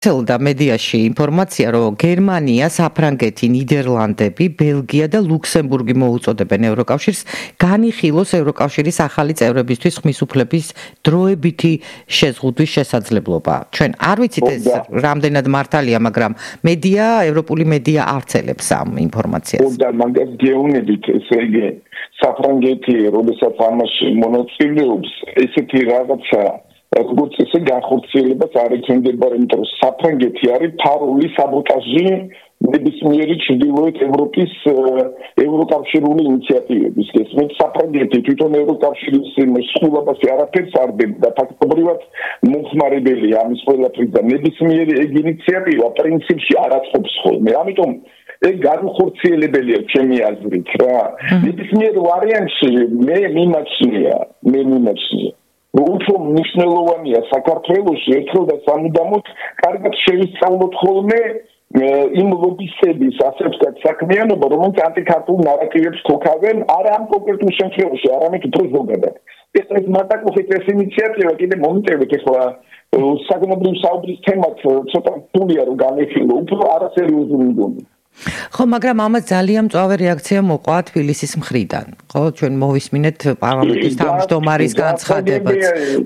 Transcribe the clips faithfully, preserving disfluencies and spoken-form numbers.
და მედიაში ინფორმაცია, რომ გერმანია, საფრანგეთი, ნიდერლანდები, ბელგია და ლუქსემბურგი მოუწოდებენ ევროკავშირს განიხილოს ევროკავშირის ახალი წევრებისთვის ხმის უფლების დროებითი შეზღუდვის შესაძლებლობა. ჩვენ არ ვიცით ეს რამდენად მართალია, მაგრამ მედია, ევროპული მედია არცელებს ამ ინფორმაციას. და მაგას გეუბნებით, ესე იგი, საფრანგეთი, როდესაც ამაში მონაწილეობს, ესეთი რაღაცა როგორც ესე განხორციელებას არ ექნებოდა, იმიტომ რომ საფრანგეთი არის ფარული საბოტაჟი ნებისმიერი ჩრდილოეთ ევროპის ევროკავშირული ინიციატივების. გესმით, საფრანგეთი თვითონ ევროკავშირის მსხვილობაზე არაფერს არ დებდა და ფაქტობრივად მომხმარებელია ამის ყველაფრის და ნებისმიერი ეგ ინიციატივა პრინციპში არ აწყობს ხოლმე. ამიტომ ეგ განხორციელებელია ჩემი აზრით რა. ნებისმიერ ვარიანტში მე მიმაჩნია, მე მიმაჩნია უფრო მნიშვნელოვანია საქართველოში ერთხელ და სამუდამოდ კარგად შევისწავლოთ ხოლმე იმ ლობისტების ასე ვთქვათ საქმიანობა, რომელიც ანტიქართულ ნარატივებს ქოქავენ არა ამ კონკრეტულ შემთხვევაში, არამედ უფრო ზოგადად. ეს ეს მარტაკუხის ეს ინიციატივა კიდე მომიტევეთ ახლა საგნობრივ საუბრის თემად ცოტა რთულია რომ განეხილო, უფრო არასერიოზული მგონი. ხო, მაგრამ ამას ძალიან მწვავე რეაქცია მოყვა თბილისის მხრიდან. ხო, ჩვენ მოვისმინეთ პარლამენტის თავმჯდომარის განცხადებაც.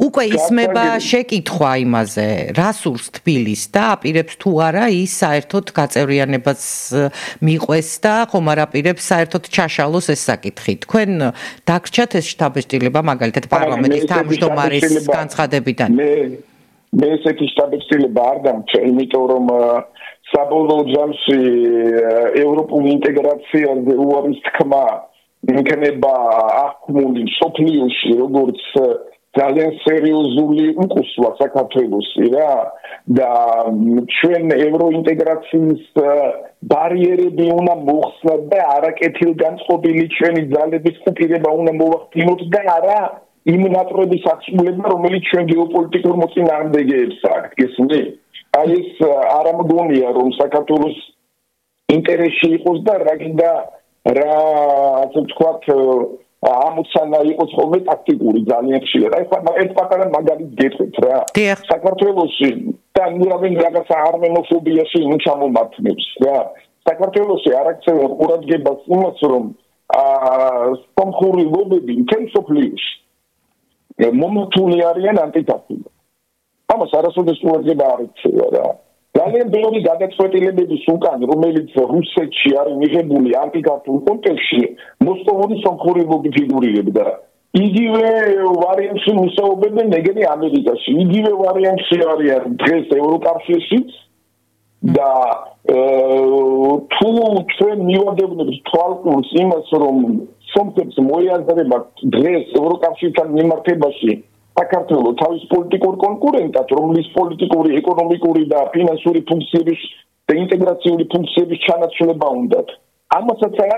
უკვე ისმება შეკითხვა იმაზე, რა სურს თბილის და აპირებს თუ არა ის საერთოდ გაწევრიანებას მიყვეს და ხომ არ აპირებს საერთოდ ჩაშალოს ეს საკითხი. თქვენ დაგრჩათ ეს შთაბეჭდილება მაგალითად პარლამენტის თავმჯდომარის განცხადებიდან? მე მე ესეთი შთაბეჭდილება არ დამჭა, იმიტომ რომ საბოლოო ჯამში ევროპული ინტეგრაციაზე უარის თქმა იქნება აღქმული სოფლიოში როგორც ძალიან სერიოზული უკუსვა საქართველოსი რა და ჩვენ ევროინტეგრაციის ბარიერები უნდა მოხსნათ და არაკეთილგანწყობილი ჩვენი ძალების კუპირება უნდა მოვახდინოთ და არა იმ ნატრების აღსრულება, რომელიც ჩვენ გეოპოლიტიკურ მოწინააღმდეგეებს აქვს, გესმით? აი ეს არ ამგონია რომ საქართველოს ინტერესში იყოს და რა გინდა რა ასე ვთქვათ ამოცანა იყოს ხოლმე ტაქტიკური ძალიან ხშირად. აი ხა ერთ პატარა მაგალითს გეტყვით რა. საქართველოში და ნურავენ რაღაცა არმენოფობიაში ნუ ჩამომართმევს რა. საქართველოში არ აქცევენ ყურადღებას იმას რომ აა სომხური ლობები მთელ სოფლიოში მომთული არიან ანტიკართული. ამას არასოდეს ყურადღება არ ექცევა რა. ძალიან ბევრი გადაწყვეტილებების უკან, რომელიც რუსეთში არის მიღებული ანტიკართულ კონტექსტში, მოსკოვური სომხური ლობი ფიგურირებდა. იგივე ვარიანტში მუშაობენ ეგენი ამერიკაში, იგივე ვარიანტში არიან დღეს ევროკავშირშიც და თუ ჩვენ მივადევნებთ თვალყურს იმას, რომ სომხებს მოიაზრებათ დღეს ევროკავშირთან მიმართებაში საქართველოს თავის პოლიტიკურ კონკურენტად, რომლის პოლიტიკური, ეკონომიკური და ფინანსური ფუნქციების და ინტეგრაციული ფუნქციების ჩანაცვლება უნდათ. ამასაც არ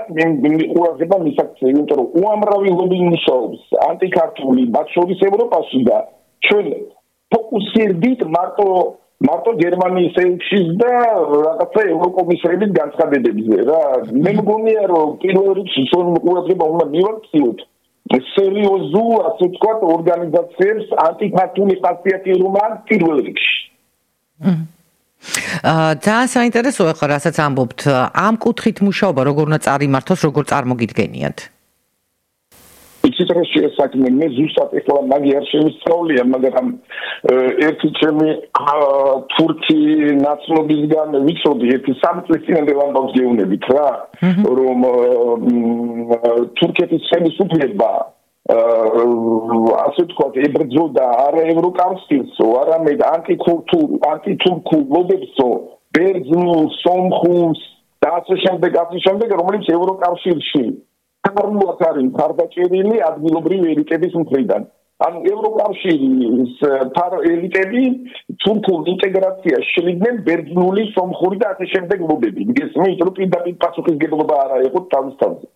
ყურადღება მისაქცია, იმიტომ რომ უამრავი ლობი მუშაობს ანტიქართული, მათ შორის ევროპაში და ჩვენ ფოკუსირდით მარტო მარტო გერმანიის ელჩის და რაღაცა ევროკომისრების განცხადებებზე რა. მე მგონია რომ პირველ რიგში ჩვენ ყურადღება უნდა მივაქციოთ სერიოზულ, ასე ვთქვათ, ორგანიზაციებს ანტიქართული ხასიათი რომ აქვს პირველ რიგში. აა ძალიან საინტერესოა ხო რასაც ამბობთ, ამ კუთხით მუშაობა როგორ უნდა წარიმართოს, როგორ წარმოგიდგენიათ? იცით რა შეესაქმე, მე ზუსტად ეხლა მაგი არ შემისწავლია, მაგრამ ერთი ჩემი თურქი ნაცნობისგან ვიცოდი, ერთი სამი წლის წინამდე ამბავს გეუბნებით რა, რომ თურქეთის ხელისუფლება ასე ვთქვათ, ებრძოდა არა ევროკავშირსო, არამედ ანტიქურთულ, ანტითურქულ ლობებსო, ბერძნულ, სომხულს და ასე შემდეგ, ასე შემდეგ, რომელიც ევროკავშირში კარულად არის მხარდაჭერილი ადგილობრივი ელიტების მხრიდან. ანუ ევროკავშირის ელიტები თურქულ ინტეგრაციას შლიდნენ ბერძნული, სომხური და ასე შემდეგ ლობები. გესმით, რომ პირდაპირ პასუხისგებლობა არა იყო თავის თავზე.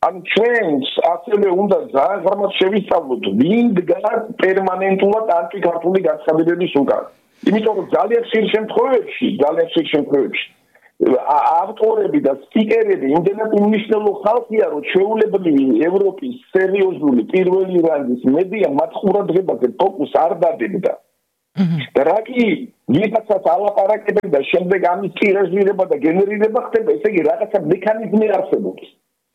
ანუ ჩვენს ასევე უნდა ძალიან ღრმად შევისწავლოთ, ვინ დგას პერმანენტულად ანტიქართული განცხადებების უკან. იმიტომ რომ ძალიან ხშირ შემთხვევებში, ძალიან ხშირ შემთხვევებში ავტორები და სპიკერები იმდენად უმნიშვნელო ხალხია, რომ ჩვეულებრივი ევროპის სერიოზული პირველი რანგის მედია მათ ყურადღებაზე ფოკუსს არ დადებდა. და რა კი ვიღაცას ალაპარაკებენ და შემდეგ ამის ტირაჟირება და გენერირება ხდება, ესე იგი რაღაცა მექანიზმი არსებობს.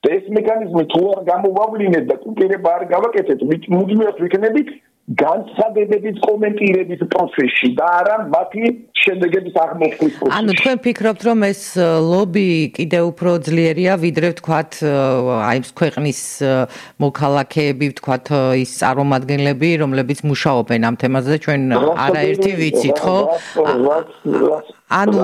და ეს მექანიზმი თუ არ გამოვავლინეთ და კუპირება არ გავაკეთეთ, მუდმივად ვიქნებით განცხადებების კომენტირების პროცესში და არა მათი შედეგების აღმოჩენის პროცესში. ანუ თქვენ ფიქრობთ, რომ ეს ლობი კიდევ უფრო ძლიერია, ვიდრე ვთქვათ, აი ეს ქვეყნის მოქალაქეები, ვთქვათ, ის წარმომადგენლები, რომლებიც მუშაობენ ამ თემაზე, ჩვენ არაერთი ვიცით, ხო? ანუ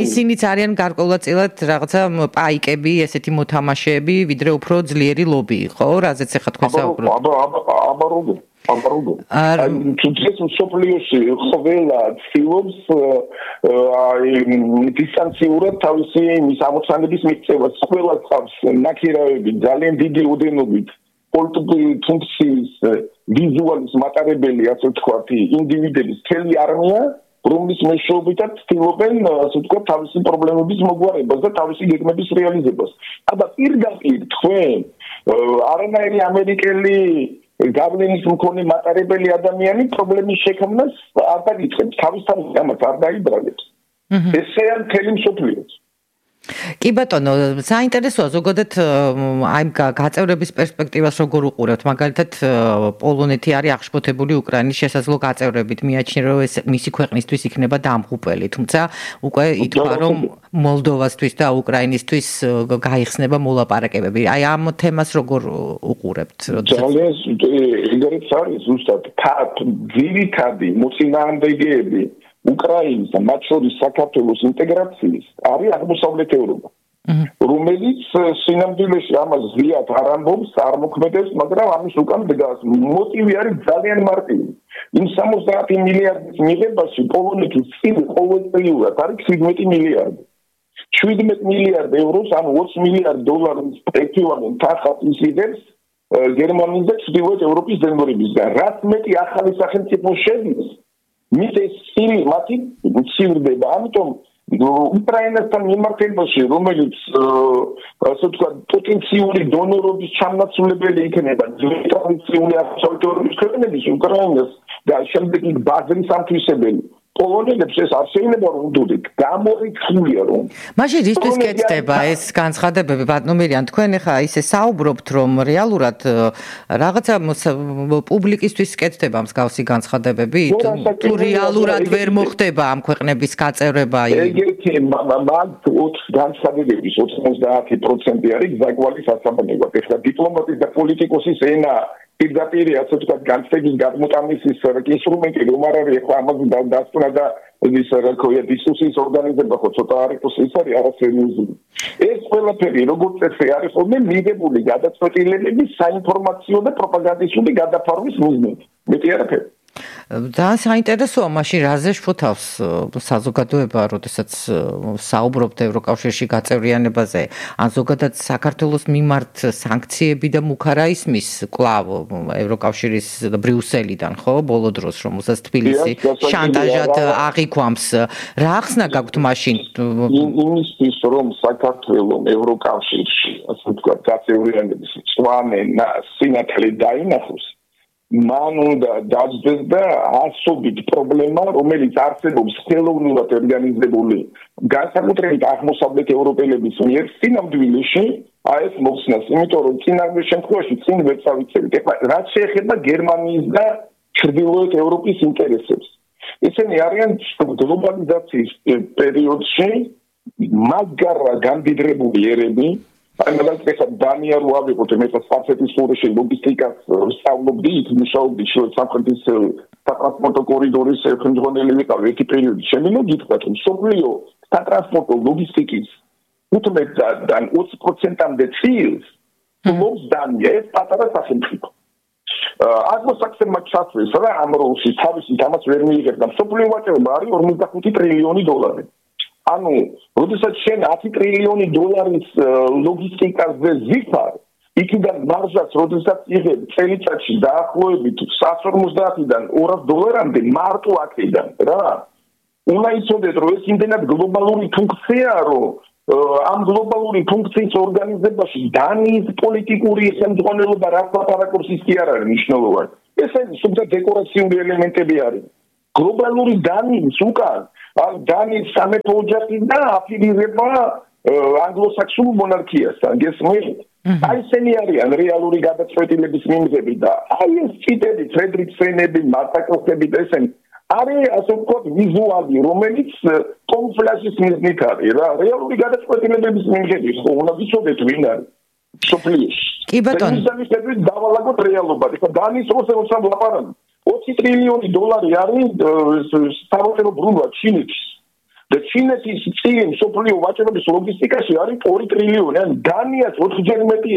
ისინიც არიან გარკვეულწილად რაღაცა პაიკები, ესეთი მოთამაშეები, ვიდრე უფრო ძლიერი ლობი, ხო? რაზეც ახლა თქვენ საუბრობთ. აბა აბა აბა როგორ აბაროდო. აი თუ ეს სოფლიოში ყველა ცდილობს აი დისტანციურად თავისი მის ამოცანების მიღწევას, ყველა წავს ნაკირავები ძალიან დიდი ოდენობით პოლიტიკური ფუნქციის ვიზუალის მატარებელი, ასე ვთქვათ, ინდივიდების მთელი არმია, რომლის მეშვეობითაც ცდილობენ, ასე ვთქვათ, თავისი პრობლემების მოგვარებას და თავისი გეგმების რეალიზებას. აბა პირდაპირ თქვენ არანაირი ამერიკელი გავლენის მქონე მატარებელი ადამიანი პრობლემის შექმნას არ დაგიწყებს, თავისთავად ამას არ დაიბრალებს. ესეა მთელი მსოფლიო. კი ბატონო, საინტერესოა ზოგადად აი გაწევრების პერსპექტივას როგორ უყურებთ? მაგალითად, პოლონეთი არის აღშფოთებული უკრაინის შესაძლო გაწევრებით, მიაჩნია, რომ ეს მისი ქვეყნისთვის იქნება დამღუპელი, თუმცა უკვე ითქვა, რომ მოლდოვასთვის და უკრაინისთვის გაიხსნება მოლაპარაკებები. აი ამ თემას როგორ უყურებთ? ძალიან ეგრეც არის ზუსტად ძირითადი მოწინააღმდეგეები უკრაინის და მათ შორის საქართველოს ინტეგრაციის არის აღმოსავლეთ ევროპა, რომელიც სინამდვილეში ამას ზიად არ ამბობს, არ მოქმედებს, მაგრამ ამის უკან დგას. მოტივი არის ძალიან მარტივი. იმ სამოცდაათი მილიარდის მიღებაში პოლონეთის წინ ყოველწლიურად არის შვიდმეტი მილიარდი. შვიდმეტი მილიარდი ევროს, ანუ ოცი მილიარდი დოლარის ეკვივალენტ თანხას იღებს გერმანიის და ჩრდილოეთ ევროპის დონორებისგან. რაც მეტი ახალი სახელმწიფო შედის, მით ეს სილი მათი მცირდება. ამიტომ უკრაინასთან მიმართებაში, რომელიც ასე ვთქვათ, პოტენციური დონორობის ჩამნაცვლებელი იქნება ტრადიციული აღმოსავლეთ ევროპის ქვეყნების უკრაინას და შემდეგ იქ ბაზრის ამთვისებელი პოლონელებს ეს არ შეიძლება რომ უდოდეთ, გამორიცხულია რომ. მაშინ რისთვის კეთდება ეს განცხადებები, ბატონო, თქვენ ახლა ისე საუბრობთ, რომ რეალურად რაღაცა პუბლიკისთვის კეთდება მსგავსი განცხადებები, თუ რეალურად ვერ მოხდება ამ ქვეყნების გაწევრება. ეგეთი მაგ განცხადებების ოცდაათი პროცენტი არის ზაგვალი სასაბანებლად. ეხლა დიპლომატის და პოლიტიკოსის ენა პირდაპირ ასე ვთქვათ განცდების გადმოტამისის ინსტრუმენტი რომ არ არის ახლა ამაზე დასკვნა და ის რა ქვია დისკუსიის ორგანიზება ხო ცოტა არის ის არის არასერიოზული. ეს ყველაფერი როგორც წესი არის ხოლმე მიღებული გადაწყვეტილებების საინფორმაციო და პროპაგანდისტული გადაფარვის მიზნით. მეტი არაფერი. ძალიან საინტერესოა მაშინ რაზე შფოთავს საზოგადოება, როდესაც საუბრობთ ევროკავშირში გაწევრიანებაზე, ან ზოგადად საქართველოს მიმართ სანქციები და მუქ არ ისმის კვლავ ევროკავშირის ბრიუსელიდან, ხო, ბოლო დროს, რომელსაც თბილისი შანტაჟად აღიქვამს. რა ახსნა გაქვთ მაშინ? იმისთვის რომ საქართველოს ევროკავშირში, ასე ვთქვათ, გაწევრიანების მწვანე სინათლე დაინახოს, მან უნდა დაძდეს და ასობით პრობლემა, რომელიც არსებობს ხელოვნურად ორგანიზებული განსაკუთრებით აღმოსავლეთ ევროპელების მიერ სინამდვილეში აი ეს მოხსნას, იმიტომ რომ წინააღმდეგ შემთხვევაში წინ ვერ წავიცებით. ეხლა რაც შეეხება გერმანიის და ჩრდილოეთ ევროპის ინტერესებს. ესენი არიან გლობალიზაციის პერიოდში მაგარა გამდიდრებული ერები. აი მაგალითად დანია რო ავიღოთ მე საფრანგეთის ყურეში ლოგისტიკას ვსწავლობდი, იქ მუშაობდი სამხრეთის სატრანსპორტო კორიდორის ხელმძღვანელი ვიყავი ერთი პერიოდი. შემიძლია გითხრათ რომ სოფლიო სატრანსპორტო ლოგისტიკის ութმეტიდან ოცი პროცენტამდე წილს ფლობს დანია, ეს პატარა სახელმწიფო. აღმოსაქსერმა ჩასვეს რა ამ როლში თავისი თამას ვერ მიიღებდა. სოფლიო ვაჭრობა არის ორმოცდახუთი ტრილიონი დოლარი. ანუ, როდესაც შენ ათი ტრილიონი დოლარის ლოგისტიკაზე ზიფარ, იქიდან მარჟაც როდესაც იღებ წელიწადში დაახლოებით სამს ორმოცდაათიდან ორას დოლარამდე მარტო აქედან, რა. უნდა იცოდეთ, რომ ეს იმდენად გლობალური ფუნქციაა, რომ ამ გლობალური ფუნქციის ორგანიზებაში დანიის პოლიტიკური ხელმძღვანელობა რაც ლაპარაკობს ის კი არ არის მნიშვნელოვანი. ეს არის სულ დეკორაციული ელემენტები არის. გლობალური დანის უკან დანის სამეფო ოჯახი და აფილირება ანგლო-საქსონურ მონარქიასთან გესმით? აი ესენი არიან რეალური გადაწყვეტილების მიმღები და აი ეს ციტები ფრედრიქსენები, მარტაკოსები და ესენი არის ასე ვთქვათ ვიზუალი, რომელიც კონფლასის მიზნით არის რა, რეალური გადაწყვეტილების მიმღები ხო უნდა ვიცოდეთ ვინ არის სოფლიოში. კი ბატონო. ისინი შეგვიძლია დავალაგოთ რეალობა. ეხლა დანის როცა ვლაპარაკობ ოცი ტრილიონი დოლარი არის სამოწერო ბრუნვა ჩინეთის. და ჩინეთის წინ სოფლიო ვაჭრობის ლოგისტიკაში არის ორი ტრილიონი, ან დანიას ოთხჯერ მეტი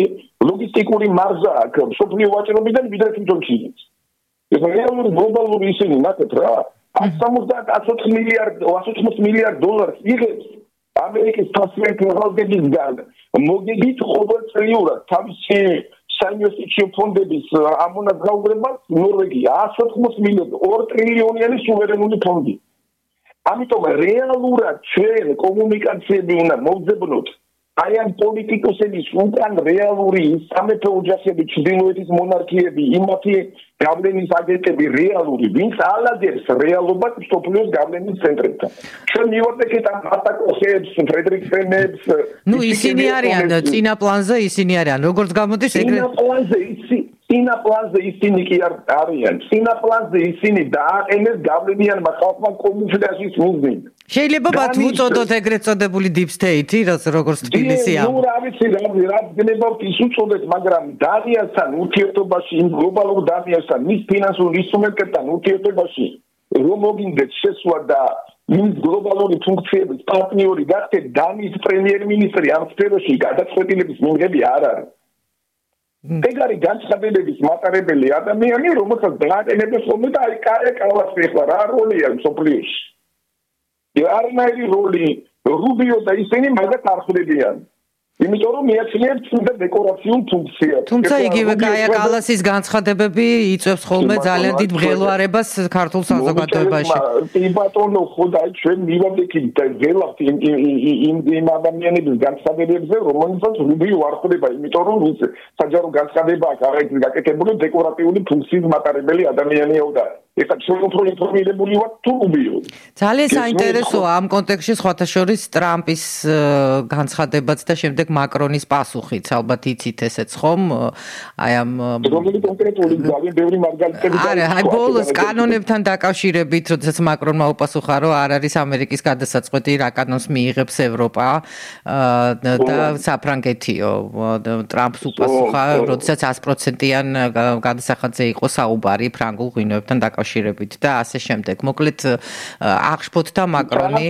ლოგისტიკური მარჟა აქვს სოფლიო ვაჭრობიდან ვიდრე თვითონ ჩინეთს. ეს რეალური გლობალური ისინი ნახეთ რა, ათს ოცი მილიარდ დოლარს იღებს ამერიკის ფასმენტალდებისგან მოგებით ყოველწლიურად თავისი საინვესტიციო ფონდების ამონაზრაურებას ნორვეგია ათს ოცი მილიარდი ორი ტრილიონიანი სუვერენული ფონდი. ამიტომ რეალურად ჩვენ კომუნიკაციები უნდა მოვძებნოთ აი ამ პოლიტიკოსების უკან რეალური სამეფო ოჯახები, ჩრდილოეთის მონარქიები, იმათი გავლენის აგენტები რეალური, ვინც ალაგებს რეალობას სოფლიოს გავლენის ცენტრებთან. ჩვენ მივაკეთეთ ამ ატაკოსებს, ფრედრიქსენებს. ნუ ისინი არიან წინა პლანზე, ისინი არიან. როგორც გამოდის ეგრე წინა პლანზე ისინი წინა პლანზე ისინი კი არიან. წინა პლანზე ისინი დააყენეს გავლენიანმა ხალხმა კომუნიკაციის მიზნით. შეიძლება მათ უწოდოთ ეგრეთ წოდებული deep state-ი, როგორც თბილისი ამ. ნუ რა ვიცი რა რა გნებავთ ის უწოდეთ, მაგრამ დანიასთან ურთიერთობაში, იმ გლობალურ დანიასთან, მის ფინანსურ ინსტრუმენტებთან ურთიერთობაში რომ მოგინდეთ შესვლა და იმ გლობალური ფუნქციების პარტნიორი გახდეთ, დანიის პრემიერ-მინისტრი ამ სფეროში გადაწყვეტილების მიმღები არ არის. ეგ არის განცხადებების მატარებელი ადამიანი, რომელსაც დააყენებენ ხოლმე და აი კაი კალასი ახლა რა როლი აქვს სოფლიოში. არნაირი როლი რუბიო და ისინი მაგათ არ ხვდებიან. იმიტომ რომ მიაჩნიათ თუნდა დეკორაციულ ფუნქციას. თუმცა იგივე კაია კალასის განცხადებები იწვევს ხოლმე ძალიან დიდ მღელვარებას ქართულ საზოგადოებაში. კი ბატონო, ხო და ჩვენ მივამდექით და ველავთ იმ იმ ადამიანების განცხადებებზე, რომელსაც რუბიო არ ხვდება, იმიტომ რომ საჯარო განცხადება აქვს არაერთი გაკეთებული დეკორატიული ფუნქციის მატარებელი ადამიანია და ეხლა ჩვენ უფრო ინფორმირებული ვართ თუ რუბიო. ძალიან საინტერესოა ამ კონტექსტში სხვათა შორის ტრამპის განცხადებაც და შემდეგ მაკრონის პასუხიც, ალბათ იცით ესეც ხომ? აი ამ რომელი კონკრეტული ძალიან ბევრი მარგალიტები არა, აი ბოლოს კანონებთან დაკავშირებით, როდესაც მაკრონმა უპასუხა, რომ არ არის ამერიკის გადასაწყვეტი რა კანონს მიიღებს ევროპა და საფრანგეთიო. ტრამპს უპასუხა, როდესაც ათი პროცენტიან გადასახადზე იყო საუბარი ფრანგულ ღვინოებთან დაკავშირებით და ასე შემდეგ. მოკლედ აღშფოთდა მაკრონი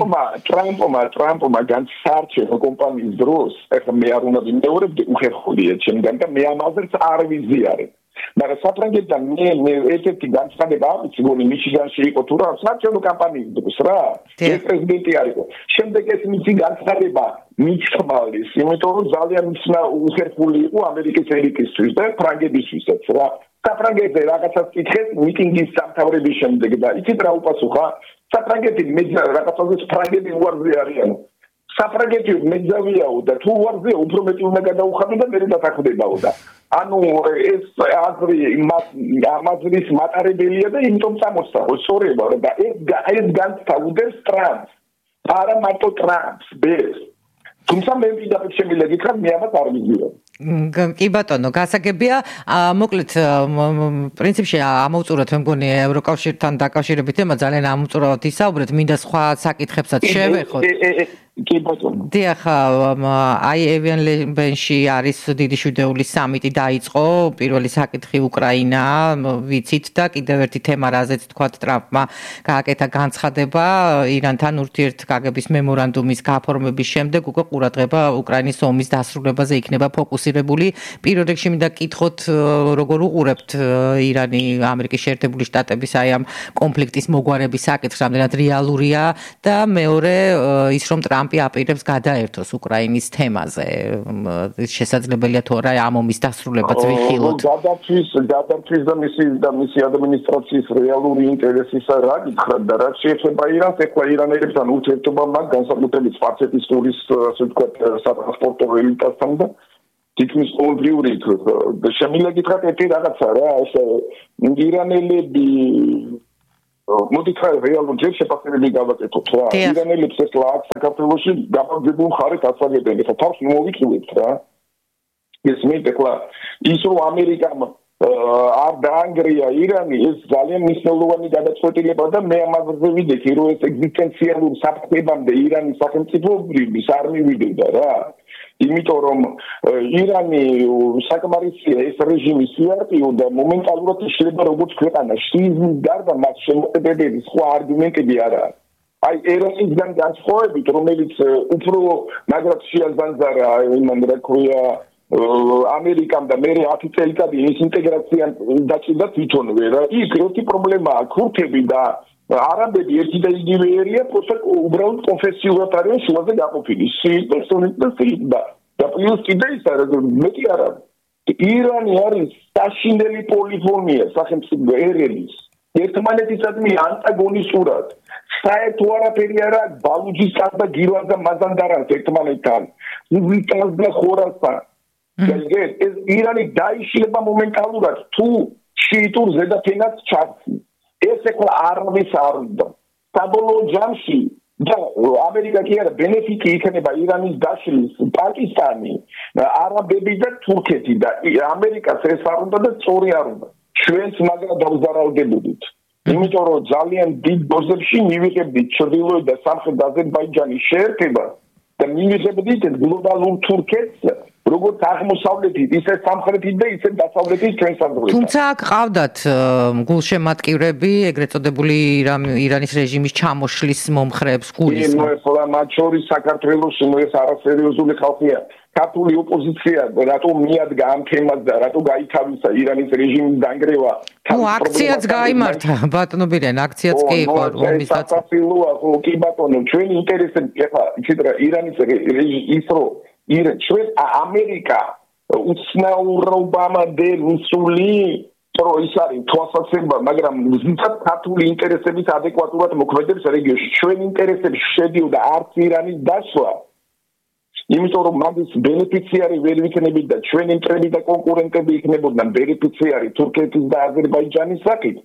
ტრამპმა ტრამპმა განსაარჩევო კომპანიის დროს ეხლა მე არ უნდა ვიმეორებდი უხერხულია ჩემგან და მე ამაზეც არ ვიზიარებ. მაგრამ საფრანგეთთან მე მე ერთ-ერთი განცხადება აქვს, გონი მიჩიგანში იყო თუ რა, საარჩევნო კამპანიის დროს რა. ეს პრეზიდენტი არისო. შემდეგ ეს მისი განცხადება მიჩხმალის, იმიტომ რომ ძალიან უხერხული იყო ამერიკის ელიტისთვის და ფრანგებისთვისაც რა. საფრანგეთზე რაღაცას კითხეს მიტინგის სამთავრების შემდეგ და იცით რა უპასუხა? საფრანგეთი მეძა რაღაცაზე ფრანგები უარზე არიან. საფრანგეთი მეძავიაო და თუ უარზეა უფრო მეტი უნდა გადაუხადო და მე დათანხმდებაო და ანუ ეს აზრი ამაზრის მატარებელია და იმიტომ წამოსცა სწორება და ეს ეს განსწავლდეს ტრამპს არა მარტო ტრამპს ბეს თუმცა მე ვიდაყებ შემიძლია გითხრა მე ამას არ ვიზიო. კი ბატონო, გასაგებია, მოკლედ პრინციპში ამოვწუროთ მე მგონი ევროკავშირთან დაკავშირებით თემა ძალიან ამოვწურავთ ისაუბრეთ, მინდა სხვა საკითხებსაც შევეხოთ. კი ბატონო. დიახ, აი ევენლენბენში არის დიდი შვიდეულის სამიტი დაიწყო, პირველი საკითხი უკრაინა, ვიცით და კიდევ ერთი თემა, რაზეც თქვათ ტრამპმა გააკეთა განცხადება ირანთან ურთიერთგაგების მემორანდუმის გაფორმების შემდეგ უკვე ყურადღება უკრაინის ომის დასრულებაზე იქნება ფოკუსირებული. პირველ რიგში მინდა გკითხოთ, როგორ უყურებთ ირანი ამერიკის შეერთებული შტატების აი ამ კონფლიქტის მოგვარების საკითხს, რამდენად რეალურია და მეორე ის რომ ტრამპი აპირებს გადაერთოს უკრაინის თემაზე. შესაძლებელია თუ არა ამ ომის დასრულებაც ვიხილოთ. გადათვის გადათვის და მისი და მისი ადმინისტრაციის რეალური ინტერესისა რა გითხრათ და რა შეეხება ირანს, ეხლა ირანელებთან ურთიერთობა მაგ განსაკუთრებით სპარსეთის ტურის ასე ვთქვათ სატრანსპორტო ელიტასთან და თითქმის ყოველდღიური და შემიძლია გითხრათ ერთი რაღაცა რა ეს ირანელები მოდით ხარ რეალურ ჯერ შეფასებები გავაკეთოთ რა. ირანელებს ეს ლაკ საქართველოში გამარჯვებულ მხარეს ასაგებენ. ეხლა თავს მოვიწყებთ რა. ეს მე ეხლა ის რომ ამერიკამ არ დაანგრია ირანი ეს ძალიან მნიშვნელოვანი გადაწყვეტილება და მე ამაზე ვიდექი რომ ეს ეგზისტენციალურ საფრთხებამდე ირანის სახელმწიფოებრივის არ მივიდოდა რა. იმიტომ რომ ირანი საკმარისია ეს რეჟიმი სიარტიო და მომენტალურად იშლება როგორც ქვეყანა შიიზმის გარდა მას შემოყებებელი სხვა არგუმენტები არ არის. აი ეროვნისგან განსხვავებით რომელიც უფრო მაგრად შეაზანზარა იმან რა ქვია ამერიკამ და მე ათი წელიწადი ის ინტეგრაცია დაჭირდა თვითონვე რა. იქ ერთი პრობლემაა ქურთები და არაბები ერთი და იგივე ერია, просто უბრალოდ კონფესიურად არიან შუაზე გაყოფილი. სიიტა, სუნიტა, სიიტა. და პლუს კიდე ის არის, მეტი არა. ირანი არის საშინელი პოლიფონია სახელმწიფო ერების. ერთმანეთისადმი ანტაგონისტურად. საერთო არაფერი არა ბალუჯისტან და გირვან და მაზანდარანს ერთმანეთთან. უზიტანს და ხორასთან. ეს ირანი დაიშლება მომენტალურად თუ შიიტურ ზედაფენად ჩართი. ეს ეხლა არვის არ უნდა. საბოლოო ჯამში და ამერიკა კი არა ბენეფიტი იქნება ირანის დაშლის პაკისტანი, არაბები და თურქეთი და ამერიკას ეს არ უნდა და სწორი არ უნდა. ჩვენც მაგრამ დავზარალდებოდით. იმიტომ რომ ძალიან დიდ დოზებში მივიღებდით ჩრდილოეთ და სამხრეთ აზერბაიჯანის შეერთება და მივიღებდით გლობალურ თურქეთს როგორც აღმოსავლეთით, ისე სამხრეთით და ისე დასავლეთით ჩვენ საზღვრებთან. თუმცა აქ ყავდათ გულშემატკივრები, ეგრეთ წოდებული ირანის რეჟიმის ჩამოშლის მომხრეებს გულის. ნუ ახლა მათ შორის საქართველოს ნუ ეს არასერიოზული ხალხია. ქართული ოპოზიცია რატო მიადგა ამ თემას და რატო გაითავისა ირანის რეჟიმის დანგრევა? ნუ აქციაც გაიმართა, ბატონო ბირენ, აქციაც კი იყო ომის დაწესება. საქართველოა, კი ბატონო, ჩვენი ინტერესები ეხლა იცით რა ირანის ის რო ჩვენ ამერიკა უცნაურობამდე მისული რო ის არის თვალსაცება, მაგრამ ზუსტად ქართული ინტერესების ადეკვატურად მოქმედებს რეგიონში. ჩვენ ინტერესებში შედიოდა არც ირანის დაშლა. იმიტომ რომ მაგის ბენეფიციარი ვერ ვიქნებით და ჩვენი მტრები და კონკურენტები იქნებოდნენ ბენეფიციარი თურქეთის და აზერბაიჯანის საკით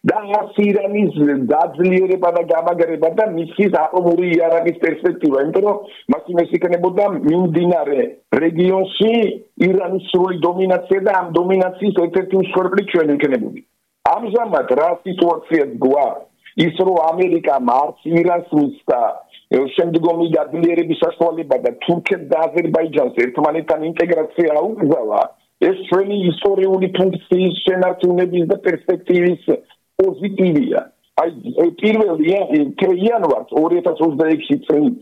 და არც ირანის დაძლიერება და გამაგრება და მისის ატომური იარაღის პერსპექტივა. იმიტომ რომ მაშინ ეს იქნებოდა მიმდინარე რეგიონში ირანის სრული დომინაცია და ამ დომინაციის ერთ-ერთი მსხვერპლი ჩვენ ვიქნებოდით. ამჟამად რა სიტუაციაც გვაქვს ის რომ ამერიკამ არც ირანს მისცა შემდგომი გაძლიერების საშუალება და თურქეთს და აზერბაიჯანს ერთმანეთთან ინტეგრაცია აუკრძალა, ეს ჩვენი ისტორიული ფუნქციის შენარჩუნების და პერსპექტივის პოზიტივია. აი პირველი იანვარს ორი ათას ოცდაექვსი წლის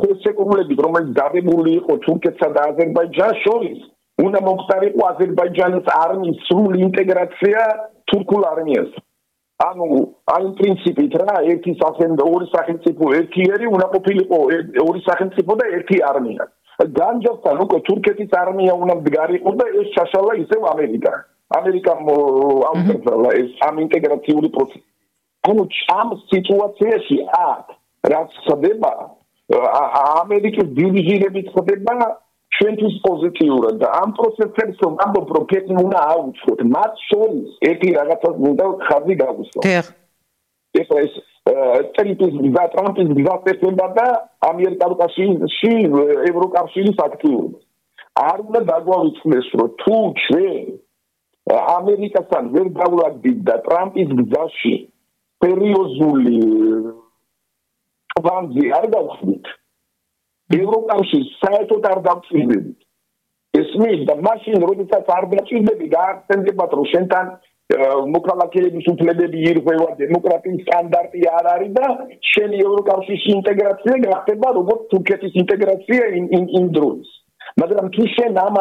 ხელშეკრულებით, რომელიც დადებული იყო თურქეთსა და აზერბაიჯანს შორის, უნდა მომხდარიყო აზერბაიჯანის არმიის სრული ინტეგრაცია თურქულ არმიასთან. ანუ ამ პრინციპით რა ერთი სახელმწიფო ორი სახელმწიფო ერთი ერი უნდა ყოფილიყო ორი სახელმწიფო და ერთი არმია. განჯობთან უკვე თურქეთის არმია უნდა მდგარიყო და ეს ჩაშალა ისევ ამერიკა. ამერიკამ აუკრძალა ეს ამ ინტეგრაციული პროცესი. ანუ ამ სიტუაციაში აქ რაც ხდება ამერიკის დივიზიებით ხდება ჩვენთვის პოზიტიურად და ამ პროცესებს რომ ამბობ რომ ფეთი უნდა აუწყოთ მათ შორის ერთი რაღაცას უნდა ხაზი გავუსვათ. ეხლა ეს ტრიმპის და ტრამპის გზატკეცილება და ამერიკაში ევროკავშირის აქტიურობა. არ უნდა დაგვავიწყდეს რომ თუ ჩვენ ამერიკასთან ვერ გავლაგდით და ტრამპის გზაში სერიოზული კვანძი არ გავხდით ევროკავშირს საერთოდ არ დავწირდებით. ესმის და მაშინ როდესაც არ დაჭირდები გაახსენებათ რომ შენთან მოქალაქეების უფლებები ირღვევა, დემოკრატიის სტანდარტი არ არის და შენი ევროკავშირის ინტეგრაცია გახდება როგორც თურქეთის ინტეგრაცია იმ დროს. მაგრამ თუ შენ ამ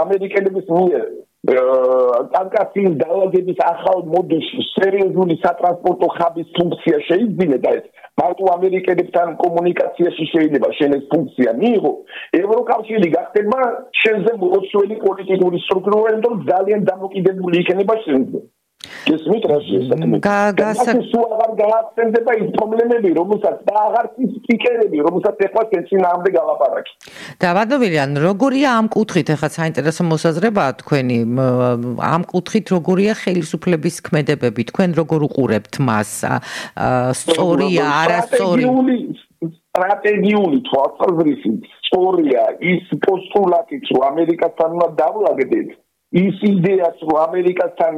ამერიკელების მიერ კავკასიის დალაგების ახალ მოდელში სერიოზული სატრანსპორტო ხაბის ფუნქცია შეიძინე და ეს მარტო ამერიკელებთან კომუნიკაციაში შეიძლება შენ ეს ფუნქცია მიიღო, ევროკავშირი გახდება შენზე მოსვლელი პოლიტიკური სტრუქტურა, რომ ძალიან დამოკიდებული იქნება შენზე. გესმით რა შეესაბამება? გასა სულ აღარ გაახსენდება ის პრობლემები, რომელსაც და აღარ ის სპიკერები, რომელსაც ეხლა წინააღმდეგ გალაპარაკი. და ბატონო, როგორია ამ კუთხით, ეხლა საინტერესო მოსაზრებაა თქვენი, ამ კუთხით როგორია ხელისუფლების ქმედებები, თქვენ როგორ უყურებთ მას? სწორია, არასწორი? სტრატეგიული თვალსაზრისით სწორია ის პოსტულატიც, რომ ამერიკასთან უნდა დავლაგდეთ. ის იდეაც, რომ ამერიკასთან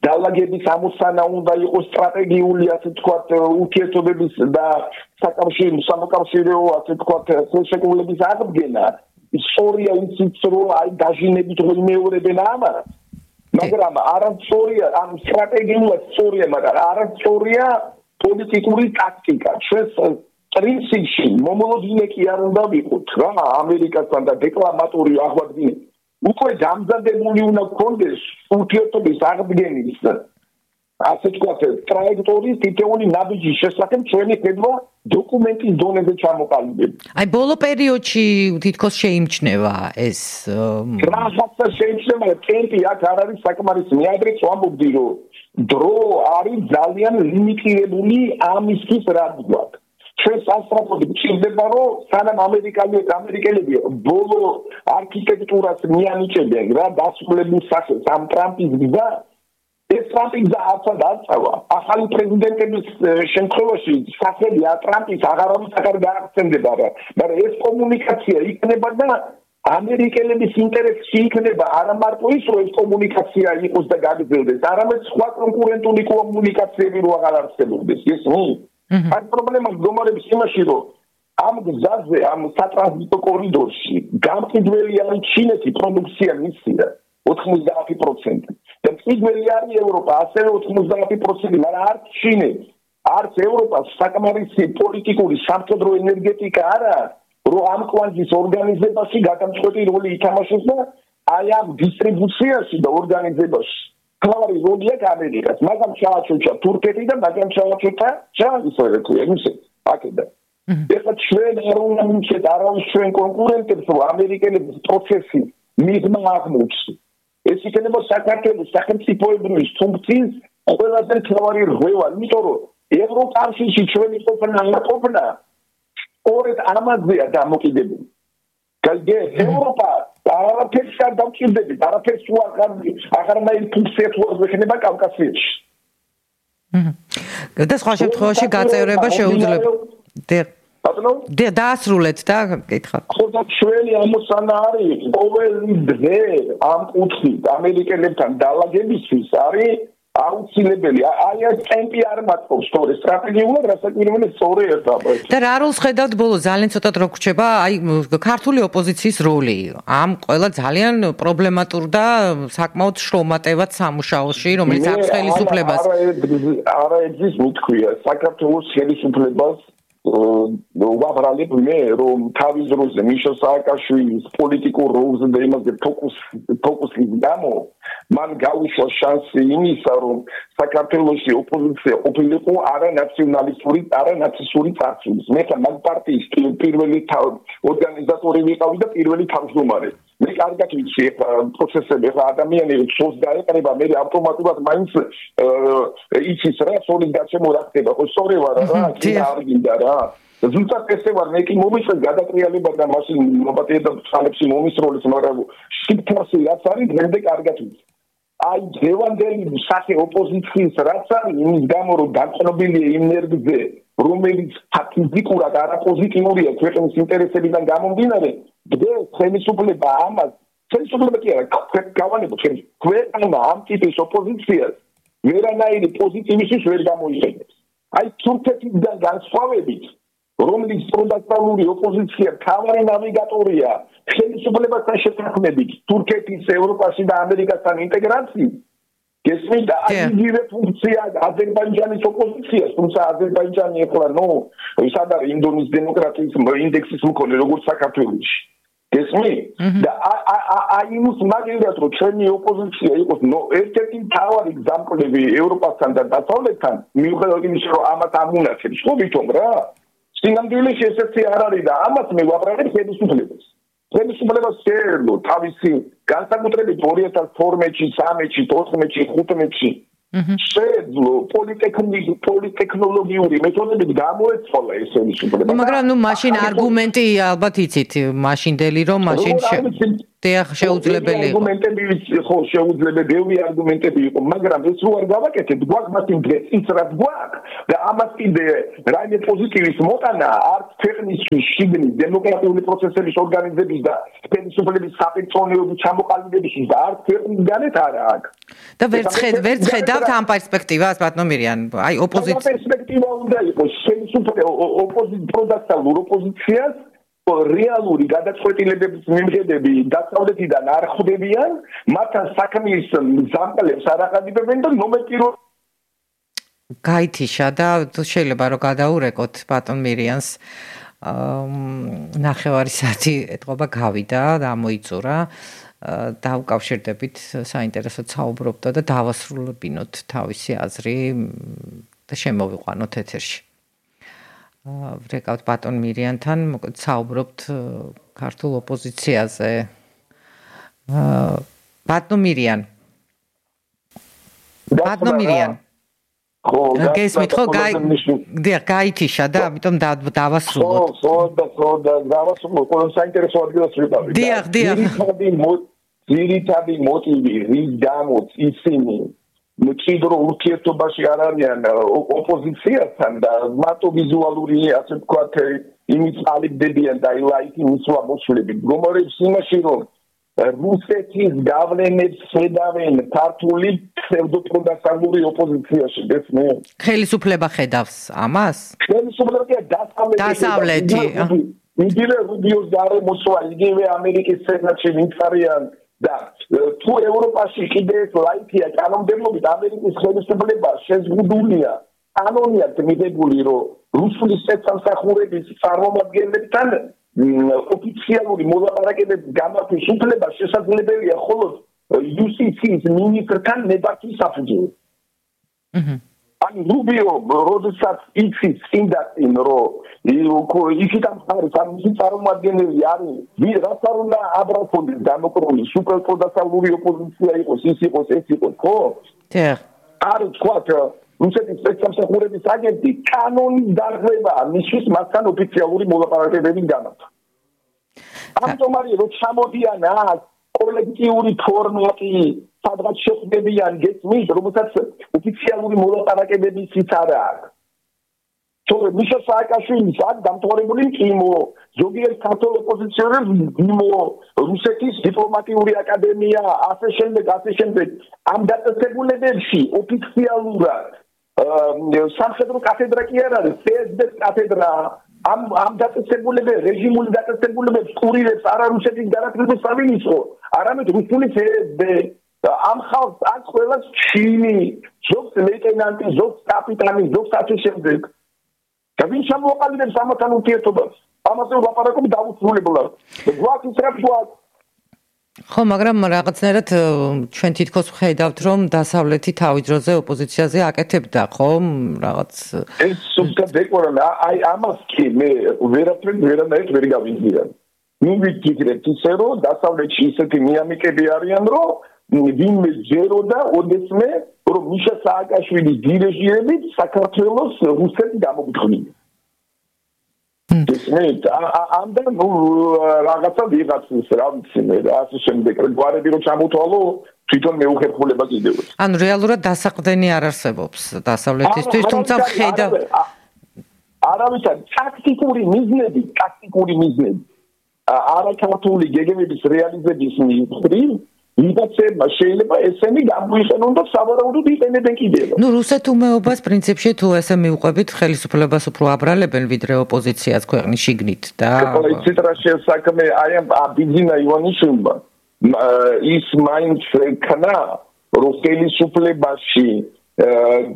დალაგების ამოცანა უნდა იყოს სტრატეგიული, ასე ვთქვათ, ურთიერთობების და საკავშირო სამოქალაქო, ასე ვთქვათ, ხელშეკრულების აღდგენა. სწორია ისიც, რომ აი დაჟინებით რომ იმეორებენ ამას. მაგრამ არასწორია, ამ სტრატეგიულად სწორია, მაგრამ არასწორია პოლიტიკური ტაქტიკა. ჩვენს პრინციპში მომოლოდინე კი არ უნდა ვიყოთ რა ამერიკასთან და დეკლამატორი აღვადგინეთ. უკვე დამზადებული უნდა გქონდეს ურთიერთობის აღდგენის ასე ვთქვათ ტრაექტორიის თითოეული ნაბიჯის შესახებ ჩვენი ხედვა დოკუმენტის დონეზე ჩამოყალიბება. აი ბოლო პერიოდში თითქოს შეიმჩნევა ეს რაღაცა შეიმჩნევა, ტემპი აქ არ არის საკმარისი. მე ადრეც ვამბობდი, რომ დრო არის ძალიან ლიმიტირებული ამისთვის რა ვთქვათ. ჩვენ სასწრაფოდ გვჭირდება, რომ სანამ ამერიკელები ამერიკელები ბოლო არქიტექტურას მიანიჭებენ რა დასრულებულ სახელს ამ ტრამპის გზა, ეს ტრამპის გზა ახლა დაწყება. ახალი პრეზიდენტების შემთხვევაში სახელი ტრამპის აღარავის აღარ გაახსენდება რა. მაგრამ ეს კომუნიკაცია იქნება და ამერიკელების ინტერესში იქნება არა მარტო ის, რომ ეს კომუნიკაცია იყოს და გაგრძელდეს, არამედ სხვა კონკურენტული კომუნიკაციები რო აღარ არსებობდეს. ეს ნუ აი პრობლემა მდგომარეობს იმაში, რომ ამ გზაზე, ამ სატრანზიტო კორიდორში გამყიდველი არის ჩინეთი პროდუქცია მისია ოცდაათი პროცენტი. და მყიდველი არის ევროპა, ასევე ოცდაათი პროცენტი, მაგრამ არც ჩინეთი, არც ევროპა საკმარისი პოლიტიკური სამხედრო ენერგეტიკა არა, რომ ამ კვანძის ორგანიზებაში გადამწყვეტი როლი ითამაშოს და აი ამ დისტრიბუციაში და ორგანიზებაში მთავარი როლი აქვს ამერიკას. მაგრამ ჩააჩოჩა თურქეთი და მაგრამ ჩააჩოჩა ჩაისრეთ ისე აქედან. ეხლა ჩვენ არ უნდა მივცეთ არავის ჩვენ კონკურენტებს, რომ ამერიკელების პროცესი მიღმა აღმოჩნდეს. ეს იქნება საქართველოს სახელმწიფოებრივი ფუნქციის ყველაზე მთავარი რღვევა, იმიტომ რომ ევროკავშირში ჩვენი ყოფნა არ ყოფნა ორეთ ამაზეა დამოკიდებული. გალგე ევროპა არაფერს არ დამჭირდებით, არაფერს უაღარ აღარნაირი ფუნქცია თუ არ ექნება კავკასიაში. და სხვა შემთხვევაში გაწევრება შეუძლებელი. ბატონო? და დაასრულეთ და გითხრათ. ხო და ჩვენი ამოცანა არის ყოველი დღე ამ კუთხით ამერიკელებთან დალაგებისთვის არის აუცილებელი. აი ეს ტემპი არ მაწყობს სწორი სტრატეგიულად, რასაკვირველია სწორი ერთობა. და რა როლს ხედავთ ბოლოს ძალიან ცოტად რო გრჩება აი ქართული ოპოზიციის როლი ამ ყველა ძალიან პრობლემატურ და საკმაოდ შრომატევად სამუშაოში, რომელიც აქვს ხელისუფლებას. არა ეძის მithქვია საქართველოს ხელისუფლებას ვაბრალებ მე, რომ თავის დროზე მიშა სააკაშვილის პოლიტიკურ როლზე და იმაზე ფოკუს ფოკუსის გამო მან გაუშვა შანსი იმისა, რომ საქართველოში ოპოზიცია ყოფილიყო არა ნაციონალისტური, არა ნაცისტური წარსულის. მე მაგ პარტიის პირველი ორგანიზატორი ვიყავი და პირველი თავმჯდომარე. მე კარგად ვიცი პროცესები, ხა ადამიანები ცოს დაეყრება, მე ავტომატურად მაინც იცის რა, სოლის გარშემო რა ხდება. ხო სწორი ვარ რა, კი არ გინდა რა. ზუსტად ესე ვარ, მე კი მომიწევ გადატრიალება და მაშინ მოპატიებდა ხალხში მომისროლის, მაგრამ სიტყვასი რაც არის, დღემდე კარგად ვიცი. აი დევანდელი სახე ოპოზიციის რაც არის, იმის გამო რომ დაწყობილია იმ ნერგზე, რომელიც ფიზიკურად არაპოზიტიურია ქვეყნის ინტერესებიდან გამომდინარე, დღეს ხელისუფლება ამას, ხელისუფლება კი არა, გავანებოთ ქვეყანა ამ ტიპის ოპოზიციას ვერანაირი პოზიტივისთვის ვერ გამოიყენებს. აი თურქეთიდან განსხვავებით, რომელიც პროდაქტალური ოპოზიცია თავარი ნავიგატორია ხელისუფლებასთან შეთანხმებით თურქეთის, ევროპაში და ამერიკასთან ინტეგრაციის, გესმით და იგივე ფუნქცია აზერბაიჯანის ოპოზიციას, თუმცა აზერბაიჯანი ახლა ნუ სად არის ინდონის დემოკრატიის ინდექსის მქონე როგორც საქართველოში. გესმით და აი იმის მაგალითად რომ ჩვენი ოპოზიცია იყოს ერთ-ერთი მთავარი გზამკვლევი ევროპასთან და დასავლეთთან, მიუხედავად იმისა რომ ამას ამუნახებს, ხო ვითომ რა სინამდვილეში ესეთი არ არის და ამას მე ვაბრალებ ხელისუფლებას. ხელისუფლებას შეეძლო თავისი განსაკუთრებით ორი ათას თორმეტში, სამეტში, თოთხმეტში, ხუთმეტში შეძლო პოლიტექნოლოგიური მეთოდებით გამოეცვალა ეს ხელისუფლება. მაგრამ ნუ მაშინ არგუმენტი ალბათ იცით, მაშინდელი რომ მაშინ დიახ შეუძლებელი იყო. არგუმენტები ხო შეუძლებელი, ბევრი არგუმენტები იყო, მაგრამ ეს რო არ გავაკეთებ, გვაქვს მაშინ დღეს ის რაც გვაქვს და ამას კიდე რაიმე პოზიტივის მოტანა არც ქვეყნისთვის შიგნით დემოკრატიული პროცესების ორგანიზების და ხელისუფლების საპირწონეობის ჩამოყალიბებისთვის და არც ქვეყნის გარეთ არა აქვს. და ვერც ვერც ხედავთ ამ პერსპექტივას, ბატონო მირიან, აი ოპოზიცია. ამ პერსპექტივა უნდა იყოს ხელისუფლება ოპოზიციურ ოპოზიციას რეალური გადაწყვეტილებების მიმღებები დასავლეთიდან არ ხვდებიან, მათთან საქმის მზამყლებს არ აყალიბებენ და ნომერკირო გაითიშა და შეიძლება რომ გადაურეკოთ ბატონ მირიანს ნახევარი საათი ეთყობა გავიდა და ამოიწურა დავკავშირდებით საინტერესოდ საუბრობდა და დავასრულებინოთ თავისი აზრი და შემოვიყვანოთ ეთერში. ვრეკავთ ბატონ მირიანთან, მოკლედ საუბრობთ ქართულ ოპოზიციაზე. ბატონ მირიან. ბატონ მირიან. ხო, გესმით ხო, გაი გაითიშა და ამიტომ დავასრულოთ. ხო, ხო, და ხო და დავასრულოთ, ყველა საინტერესო ადგილას ვიყავით. დიახ, დიახ. ძირითადი მოტივი, რის გამოც ისინი მჭიდრო ურთიერთობაში არ არიან ოპოზიციასთან და მარტო ვიზუალური, ასე ვთქვათ, იმის ყალიბდებიან და ლაიქი მისვლა მოსვლებით. გომორებს იმაში, რომ რუსეთის გავლენებს ხედავენ ქართული ფსევდოპროდასალური ოპოზიციაში, გესმით? ხელისუფლება ხედავს ამას? ხელისუფლება დასავლეთი. დასავლეთი. იგივე რუბიოს გარემოსვლა, იგივე ამერიკის სენატში მიწარიან და თუ ევროპაში კიდე ეს ლაიქია კანონმდებლობით ამერიკის ხელისუფლება შეზღუდულია კანონიად მიღებული, რომ რუსული სპეცსამსახურების წარმომადგენლებთან ოფიციალური მოლაპარაკებების გამართვის უფლება შესაძლებელია მხოლოდ იუსტიციის მინისტრთან ნებართვის საფუძველზე. ან რუბიო როდესაც იცის წინდაწინ რომ იქით ამ ხარის ან მისი წარმომადგენელი არის ვინ რაც არ უნდა აბრალფონდეს დამოკრული სუპერპროდასალური ოპოზიცია იყოს ის იყოს ეს იყოს ხო? დიახ. არ ვთქვათ რუსეთის სპეცსამსახურების აგენტი კანონის დარღვევაა მისთვის მასთან ოფიციალური მოლაპარაკებების გამართვა. ამიტომ არის რომ ჩამოდიან აქ კოლექტიური ფორმატი სადღაც შეხვდებიან გესმით, რომელსაც ოფიციალური მოლაპარაკებებიც არ აქვს. თორე მიშა სააკაშვილის აქ დამთავრებული მყინვო, ზოგიერთ ქართულ ოპოზიციონერს მყინვო, რუსეთის დიპლომატიური აკადემია, ასე შემდეგ, ასე შემდეგ. ამ დაწესებულებებში ოფიციალურად სამხედრო კათედრა კი არ არის, ფსბ-ის კათედრა, ამ ამ დაწესებულებებს, რეჟიმული დაწესებულებებს კურირებს არა რუსეთის განათლების სამინისტრო, არამედ რუსული ფსბ. ამ ხალხს აქ ყველას ჩინი, ზოგს ლეიტენანტი, ზოგს კაპიტანი, ზოგს ასე შემდეგ. და ვინ შემოაყალიბებს ამათთან ურთიერთობას? ამაზე ვლაპარაკობ დაუსრულებლად. გვაქვს რა გვაქვს. ხო, მაგრამ რაღაცნაირად ჩვენ თითქოს ვხედავთ, რომ დასავლეთი თავის დროზე ოპოზიციაზე აკეთებდა, ხო? რაღაც ეს სულთან დეკორან, აი ამას კი მე ვერაფერ ვერანაირად ვერ გავიზიარ. ნუ ვიკითხეთ ისე რომ დასავლეთში ისეთი მიამიკები არიან, რომ ვინმე ჯეროდა ოდესმე რომ მიშა სააკაშვილის დირიჟირებით საქართველოს რუსეთი გამოგდღნია. ესმით ამდენ ნუ რაღაცა ვიღაცის რა ვიცი მე ასე შემდეგ გვარები რომ ჩამოთვალო თვითონ მეუხერხულება კიდევ. ანუ რეალურად დასაყრდენი არ არსებობს დასავლეთისთვის, თუმცა ხედავ არავითარ ტაქტიკური მიზნები, ტაქტიკური მიზნები არაქართული გეგმების რეალიზების მიზნები ვიღაცებმა შეიძლება ესენი გამოიყენონ და სავარაუდოდ იყენებენ კიდევ. ნუ რუსეთუმეობას პრინციპში თუ ესე მივყვებით ხელისუფლებას უფრო აბრალებენ ვიდრე ოპოზიციას ქვეყნის შიგნით და იცით რა შეესაქმე აი ამ ბიზინა ივანიშვილმა ის მაინც ქნა რომ ხელისუფლებაში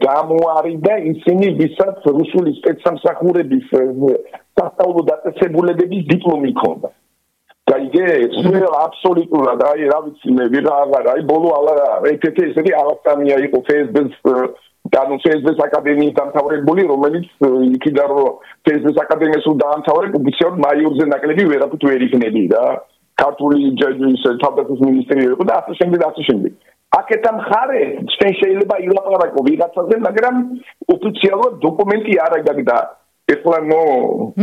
გამოარიდა ისინი ვისაც რუსული სპეცსამსახურების სასწავლო დაწესებულებების დიპლომი ჰქონდა. გაიგე, სულ აბსოლუტურად, აი რა ვიცი მე, ვიღააღარ, აი ბოლო ალა ერთ-ერთი ესეთი ალასტანია იყო ფსბ-ის, ანუ ფსბ-ის აკადემიის დამთავრებული, რომელიც იქიდან რომ ფსბ-ის აკადემიას უნდა დაამთავრებ, ოფიციალურად მაიორზე ნაკლები ვერაფრით ვერ იქნები რა. ქართული ჯერჯერის თავდაცვის მინისტრი იყო და ასე შემდეგ, ასე შემდეგ. აკეთა მხარე ჩვენ შეიძლება ილაპარაკო ვიღაცაზე, მაგრამ ოფიციალურად დოკუმენტი არ აქვს და ეხლა ნო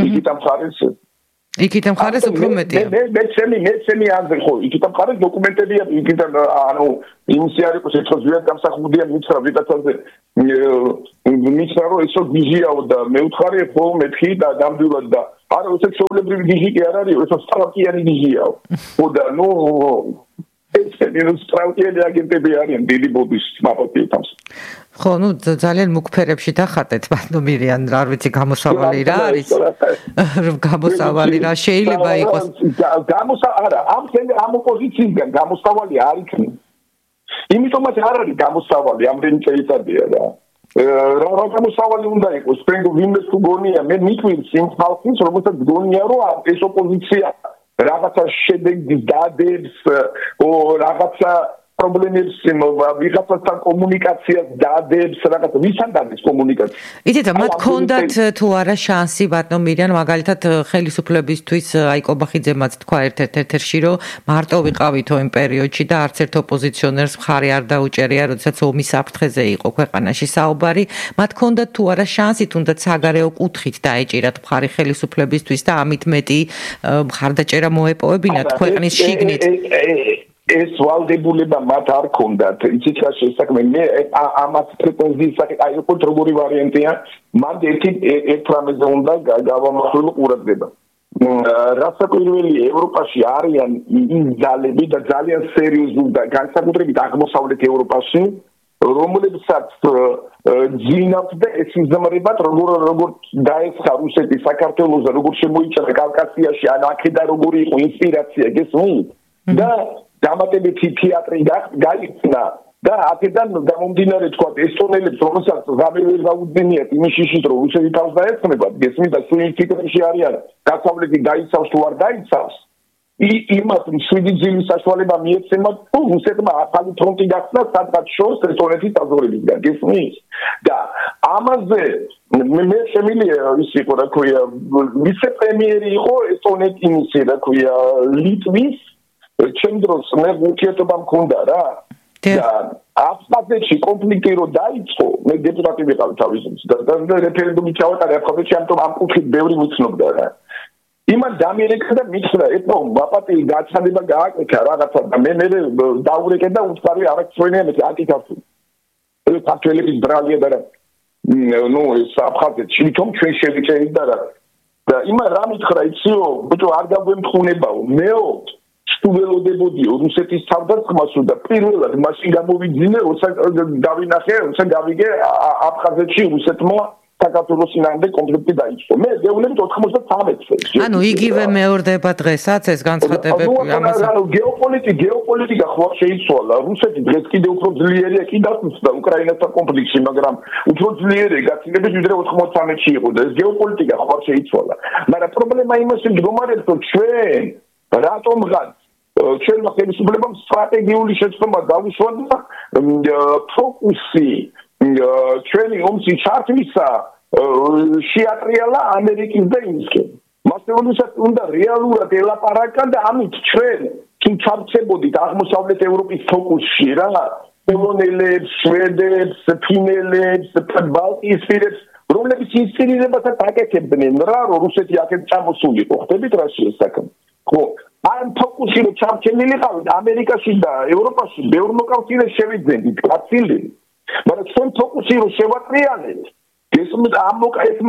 იქით მხარეს იქით მხარეს უფრო მეტია. მე მე ჩემი მე ჩემი აზრი ხო, იქით მხარეს დოკუმენტებია, იქით ანუ იმისი არის ხო შეწყვეტია გამსახურდია მითხრა ვიღაცაზე მითხრა რომ ესო გიჟიაო და მე უთხარი ხო მეთქი და გამდვილად და არა ესე ჩვეულებრივი გიჟი კი არ არის, ესო სტრატეგიანი გიჟიაო. ხო და ნუ ეს მინუს სტრატეგიული აგენტები არიან დიდი ბობის მაპატიეთავს. ხო, ну ძალიან მუქფერებში დახატეთ, ბატონო მირიან, არ ვიცი გამოსავალი რა არის. გამოსავალი რა შეიძლება იყოს. გამოსა არა, ამ ამ ოპოზიციიდან გამოსავალი არ იქნება. იმიტომაც არ არის გამოსავალი, ამდენი წელიწადია რა. რა რა გამოსავალი უნდა იყოს, თქვენ ვინმე თუ გონია, მე მიყვირს იმ ხალხის, რომელსაც გონია რომ ეს ოპოზიცია რაღაცა შედეგს დადებს, ო რაღაცა პრობლემებს ვიღაცასთან კომუნიკაციას დადებს, რაღაცა ვისთან დადებს კომუნიკაცია. იცით, მათ ქონდათ თუ არა შანსი, ბატონო მირიან, მაგალითად ხელისუფლებისთვის აი კობახიძემაც თქვა ერთ-ერთ ეთერში, რომ მარტო ვიყავითო იმ პერიოდში და არც ერთ ოპოზიციონერს მხარი არ დაუჭერია, როდესაც ომის საფრთხეზე იყო ქვეყანაში საუბარი. მათ ქონდათ თუ არა შანსი, თუნდაც საგარეო კუთხით დაეჭირათ მხარი ხელისუფლებისთვის და ამით მეტი მხარდაჭერა მოეპოვებინათ ქვეყნის შიგნით. ეს ვალდებულება მათ არ ქონდათ. იცით რა შესაძლოა მე ამას პრეტენზიის საკითხი აი უფრო როგორი ვარიანტია, მან ერთი ერთ რამეზე უნდა გავამახვილო ყურადღება. რასაკვირველი ევროპაში არიან იმ ძალები და ძალიან სერიოზული და განსაკუთრებით აღმოსავლეთ ევროპაში, რომლებსაც ძინავთ და ეს იზმრებათ როგორ როგორ დაესხა რუსეთი საქართველოსა, როგორ შემოიჭრა კავკასიაში, ან აქედა როგორი იყო ინსპირაცია გესმით და დამატებითი თეატრი გაიხსნა და აქედან გამომდინარე თქვა ესტონელებს რომელსაც გამერველ გაუძინიათ იმის შიშით რომ რუსეთი თავს დაეცნებათ გესმით და სულ ფიქრში არიან დასავლეთი დაიცავს თუ არ დაიცავს იმათ შვიდი ძილის საშუალება მიეცემათ თუ რუსეთმა ახალი ფრონტი გახსნა სადღაც შორს ესტონეთის საზღვრებისგან გესმით და ამაზე მე შემიძლია ის იყო რა ქვია ვიცე-პრემიერი იყო ესტონეთის რა ქვია ლიტვის ჩემ დროს მე ურთიერთობა მქონდა რა და აფხაზეთში კონფლიქტი რო დაიწყო მე დეპუტატი ვიყავ თავისუფლად და რეფერენდუმი ჩავატარე აფხაზეთში ამიტომ ამ კუთხით ბევრი მიცნობდა რა იმან დამიერეკა და მითხრა ეთო მაპატი გაჩანება გააკეთა რაღაცა და მე მე დაურეკე და უცხარი არაქცევენია მე აკითხავ ეს ქართველების ბრალია და ნუ ეს აფხაზეთში თომ ჩვენ შევიჭერით და რა და იმან რა მითხრა იციო ბიჭო არ გაგვემთხუნებაო მეო სტუველოდებოდიო რუსეთის თავდასხმას და პირველად მაშინ გამოვიძინე როცა დავინახე როცა გავიგე აფხაზეთში რუსეთმა საქართველოსინამდე კონფლიქტი დაიწყო მე გეუბნებით ოთხმოცდათრამეტ წელს ანუ იგივე მეორდება დღესაც ეს განცხადებები ამას გეოპოლიტიკა გეოპოლიტიკა ხო შეიცვალა რუსეთი დღეს კიდევ უფრო ძლიერია კი დასუსტდა უკრაინასთან კონფლიქტში მაგრამ უფრო ძლიერია გაცილებით ვიდრე ოთხმოცდათრამეტში იყო და ეს გეოპოლიტიკა ხო შეიცვალა მაგრამ პრობლემა იმაში მდგომარეობს რომ ჩვენ რატომღაც ჩვენმა ხელისუფლებამ სტრატეგიული შეცდომა დავუშვა და ფოკუსი ჩვენი ომში ჩართვისა შეატრიალა ამერიკის და ინგლისკენ. მასწავლებლად უნდა რეალურად ელაპარაკან და ამით ჩვენ თუ ჩარჩებოდით აღმოსავლეთ ევროპის ფოკუსში რა პოლონელებს, შვედებს, ფინელებს, ბალტიისპირებს რომლებიც ინსპირირებასაც აკეთებდნენ რა რომ რუსეთი აქეთ წამოსულიყო ხდებით რა შეესაკენ ხო ამ ფოკუსი რო ჩარჩენილიყავით ამერიკაში და ევროპაში ბევრ მოკავშირეს შევიძენდით კაცილი მაგრამ ჩვენ ფოკუსი რო შევატრიალეთ ეს ამ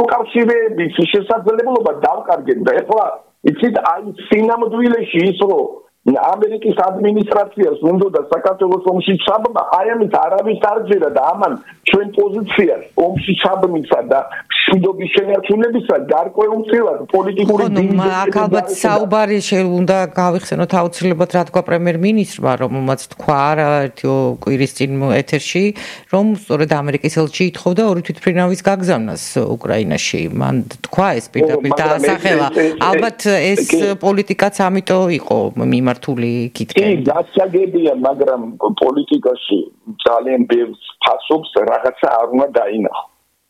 მოკავშირეების შესაძლებლობა დავკარგეთ და ეხლა იცით აი სინამდვილეში ის რო ამერიკის ადმინისტრაციას უნდა და საქართველოს ომში ჩაბმა აი ამით არავის არ ჯერა და ამან ჩვენ პოზიციას ომში ჩაბმისა და მშვიდობის შენარჩუნებისა გარკვეულწილად პოლიტიკური დინამიკა აქ ალბათ საუბარი უნდა გავიხსენოთ აუცილებლად რა თქვა პრემიერ-მინისტრმა რომელმაც თქვა ერთი კვირის წინ ეთერში რომ სწორედ ამერიკის ელჩი ითხოვდა ორი თვითმფრინავის გაგზავნას უკრაინაში მან თქვა ეს პირდაპირ დაასახელა ალბათ ეს პოლიტიკაც ამიტომ იყო მიმართული იქითკენ კი დასაგებია მაგრამ პოლიტიკაში ძალიან ბევრ ფასობს რაღაცა არ უნდა დაინახო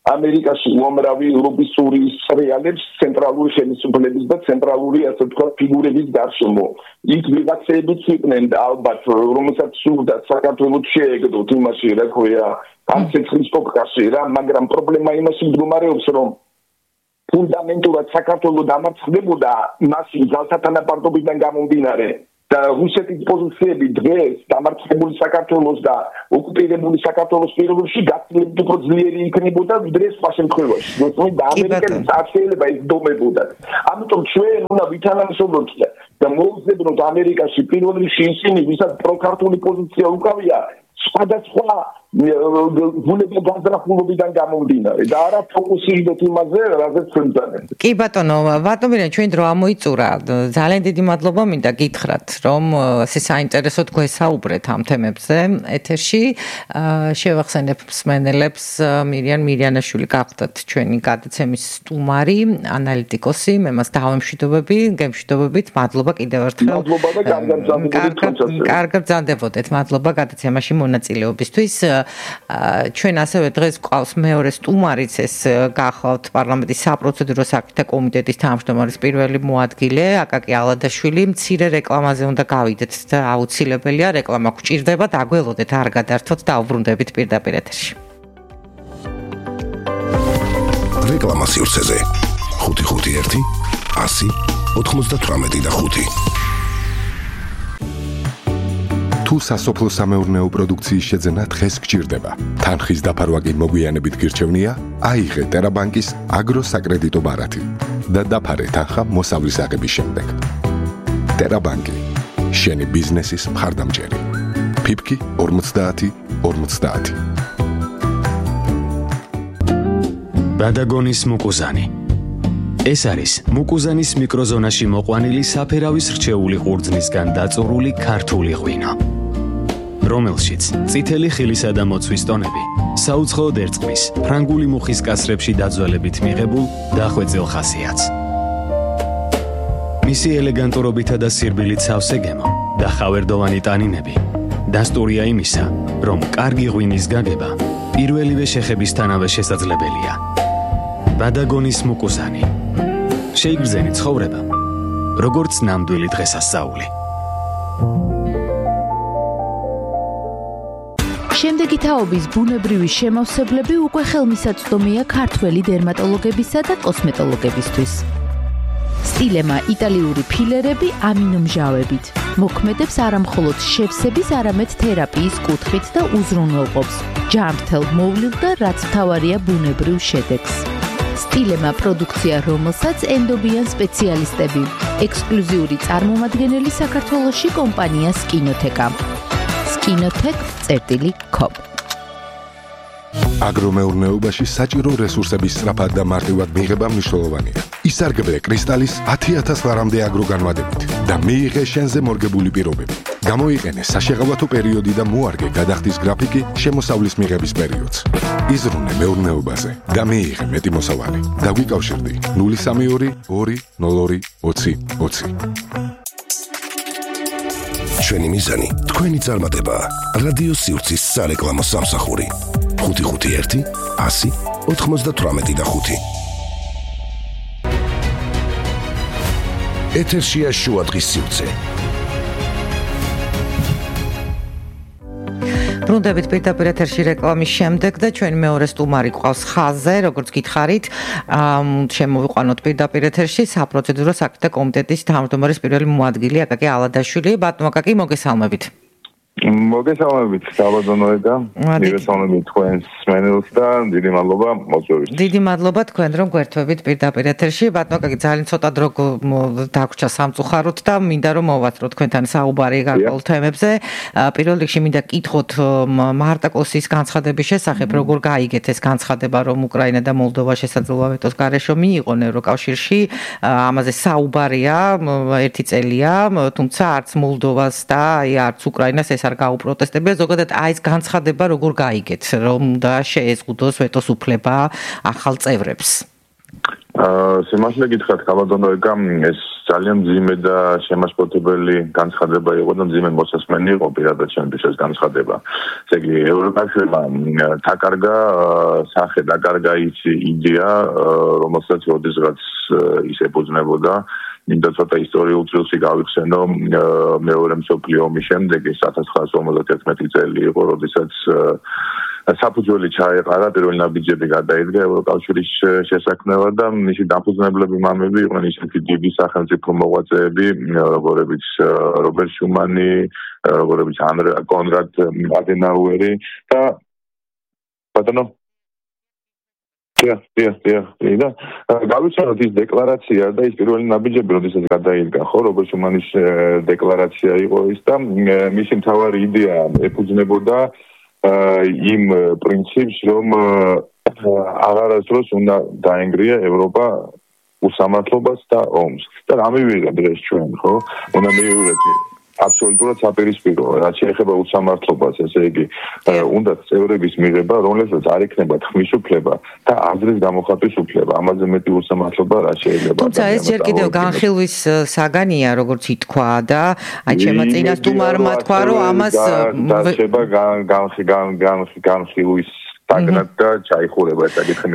ამერიკაში უამრავი ლობისტური რეალებს ცენტრალური ხელისუფლების და ცენტრალური ასე ვთქვათ ფიგურების გარშემო. იქ ვიღაცებიც იყვნენ ალბათ, რომელსაც სურდათ საქართველოს შეეგდოთ იმაში, რა ქვია, განცეცხლის პოპკაში რა, მაგრამ პრობლემა იმაში მდგომარეობს, რომ ფუნდამენტურად საქართველოს დამარცხდებოდა მასი ძალსათანაბარდობიდან გამომდინარე. და რუსეთის პოზიციები დღეს დამარცხებული საქართველოს და ოკუპირებული საქართველოს პირობებში გაცილებით უფრო ძლიერი იქნებოდა ვიდრე სხვა შემთხვევაში. როდესაც და ამერიკელი წარსულება იზრდებოდა. ამიტომ ჩვენ უნდა ვითანამშრომლოთ და მოვუძებნოთ ამერიკაში პირველ რიგში ისინი, ვისაც პროქართული პოზიცია უკავია, სხვადასხვა გულებო განზრახულობიდან გამომდინარე და არა ფოკუსირდეთ იმაზე, რაზეც ჩვენ ვძანეთ. კი ბატონო, ბატონო, ჩვენ დრო ამოიწურა. ძალიან დიდი მადლობა მინდა გითხრათ, რომ ესე საინტერესოდ გვესაუბრეთ ამ თემებზე ეთერში. შევახსენებ მსმენელებს, მირიან მირიანაშვილი გახდათ ჩვენი გადაცემის სტუმარი, ანალიტიკოსი, მე მას დავემშვიდობები, გემშვიდობებით. მადლობა კიდევ ერთხელ. მადლობა და კარგად კარგად ბრძანდებოდეთ. მადლობა გადაცემაში მონაწილეობისთვის. ჩვენ ასევე დღეს გვყავს მეორე სტუმარიც, ეს გახლავთ პარლამენტის საპროცედურო საკითხთა კომიტეტის თავმჯდომარის პირველი მოადგილე აკაკი ალადაშვილი. მცირე რეკლამაზე უნდა გავიდეთ და აუცილებელია რეკლამა გვჭირდება, დაგველოდეთ, არ გადართოთ და უბრუნდებით პირდაპირ ეთერში. რეკლამა სივრცეზე ხუთი ხუთი ერთი ასი ოთხმოცდათვრამეტი და ხუთი. თუ სასოფლო სამეურნეო პროდუქციის შეძენა დღეს გჭირდება, თანხის დაფარვა კი მოგვიანებით გირჩევნია, აიღე ტერაბანკის აგროსაკრედიტო ბარათი და დაფარე თანხა მოსავლის აღების შემდეგ. ტერაბანკი, შენი ბიზნესის მხარდამჭერი. ფიფკი ორმოცდაათი ორმოცდაათი. ბადაგონის მუკუზანი. ეს არის მუკუზანის მიკროზონაში მოყვანილი საფერავის რჩეული ყურძნისგან დაწურული ქართული ღვინო, რომელშიც წითელი ხილისა და მოცვის ტონები საუცხოოდ ერწყმის ფრანგული მუხის კასრებში დაძველებით მიღებულ დახვეწილ ხასიათს. მისი ელეგანტურობითა და სირბილით სავსე გემო და ხავერდოვანი ტანინები დასტურია იმისა, რომ კარგი ღვინის გაგება პირველივე შეხებისთანავე შესაძლებელია. ბადაგონის მუკუზანი. შეიგრძენი ცხოვრება, როგორც ნამდვილი დღესასწაული. შემდეგი თაობის ბუნებრივი შემავსებლები უკვე ხელმისაწვდომია ქართველი დერმატოლოგებისა და კოსმეტოლოგებისთვის. სტილემა იტალიური ფილერები ამინომჟავებით მოქმედებს არამხოლოდ შევსების, არამედ თერაპიის კუთხით და უზრუნველყოფს ჯანმრთელ მოვლილ და რაც მთავარია ბუნებრივ შედეგს. სტილემა პროდუქცია, რომელსაც ენდობიან სპეციალისტები, ექსკლუზიური წარმომადგენელი საქართველოში კომპანია სკინოთეკა. სკინოთეკ წერტილი კომ. აგრომეურნეობაში საჭირო რესურსების სწრაფად და მარტივად მიღება მნიშვნელოვანია. ისარგებლე კრისტალის ათი ათას ლარამდე აგროგანვადებით და მიიღე შენზე მორგებული პირობები. გამოიყენე საშეღავათო პერიოდი და მოარგე გადახდის გრაფიკი შემოსავლის მიღების პერიოდს. იზრუნე მეურნეობაზე და მიიღე მეტი მოსავალი. დაგვიკავშირდი ნული სამი ორი ორი ნულ ორი ოცი ოცი. ჩვენი მიზანი თქვენი წარმატება. რადიო სივრცის სარეკლამო სამსახური. ხუთი ხუთი ერთი ასი ოთხმოცდათვრამეტი და ხუთი. ეთერშია შუადღის სივრცე. ბრუნდებით პირდაპირ ეთერში რეკლამის შემდეგ და ჩვენი მეორე სტუმარი გვყავს ხაზზე, როგორც გითხარით, შემოვიყვანოთ პირდაპირ ეთერში საპროცედურო საკითხთა კომიტეტის თავმჯდომარის პირველი მოადგილე აკაკი ალადაშვილი. ბატონო აკაკი, მოგესალმებით. მოგესალმებით, საბადონოედა. მივესალმებით თქვენს მსმენელს და დიდი მადლობა მოწვევით. დიდი მადლობა თქვენ, რომ გვერთვებით პირდაპირ ეთერში. ბატონო აკაკი, ძალიან ცოტა დრო დაგვრჩა სამწუხაროდ და მინდა რომ მოვასწროთ თქვენთან საუბარი გარკვეულ თემებზე. პირველ რიგში მინდა გკითხოთ მარტაკოსის განცხადების შესახებ, როგორ გაიგეთ ეს განცხადება, რომ უკრაინა და მოლდოვა შესაძლოა ვეტოს გარეშე მიიღონ ევროკავშირში. ამაზე საუბარია ერთი წელია, თუმცა არც მოლდოვას და არც უკრაინას ეს არ გაუპროტესტებია. ზოგადად აი ეს განცხადება როგორ გაიგეთ, რომ და შეეზღუდოს ვეტოს უფლება ახალ წევრებს? აა, სიმართლე გითხრათ, ხალხადონოეკა ეს ძალიან მძიმე და შემაშფოთებელი განცხადება იყო და მძიმე მოსასმენი იყო პირადად ჩემთვის ეს განცხადება. ესე იგი ევროკავშირმა დაკარგა სახე, დაკარგა ის იდეა, რომელსაც როდესღაც ის ეფუძნებოდა. მინდა ცოტა ისტორიულ წილში გავიხსენო მეორე მსოფლიო ომის შემდეგ ეს ათას ცხრაასი ორმოცდათერთმეტი წელი იყო, როდესაც საფუძველი ჩაეყარა პირველი ნაბიჯები გადაიდგა ევროკავშირის შესაქმნელად და მისი დამფუძნებლები მამები იყვნენ ისეთი დიდი სახელმწიფო მოღვაწეები, როგორებიც რობერტ შუმანი, როგორებიც კონრად ადენაუერი და ბატონო Ja, ja, ja, ja. გავიცანოთ ის დეკლარაცია და ის პირველი ნაბიჯები, როდესაც გადაიდგა, ხო, რობერტ შუმანის დეკლარაცია იყო ის და მისი მთავარი იდეა ეფუძნებოდა იმ პრინციპს, რომ აღარასდროს უნდა დაენგრია ევროპა უსამართლობას და ომს. და რა მივიღეთ დღეს ჩვენ, ხო? უნდა მივიღეთ აბსოლუტურად საპირისპირო, რაც შეეხება უსამართლობას, ესე იგი, უნდა წევრების მიღება, რომელსაც არ იქნება ხმისუფლება და აზრის გამოხატვის უფლება. ამაზე მეტი უსამართლობა რა შეიძლება. თუმცა ეს ჯერ კიდევ განხილვის საგანია, როგორც ითქვა და აი ჩემო წინასწარმოებმა თქვა, რომ ამას დარჩება განხილვის საგნად და ჩაიხურება ეს საკითხი.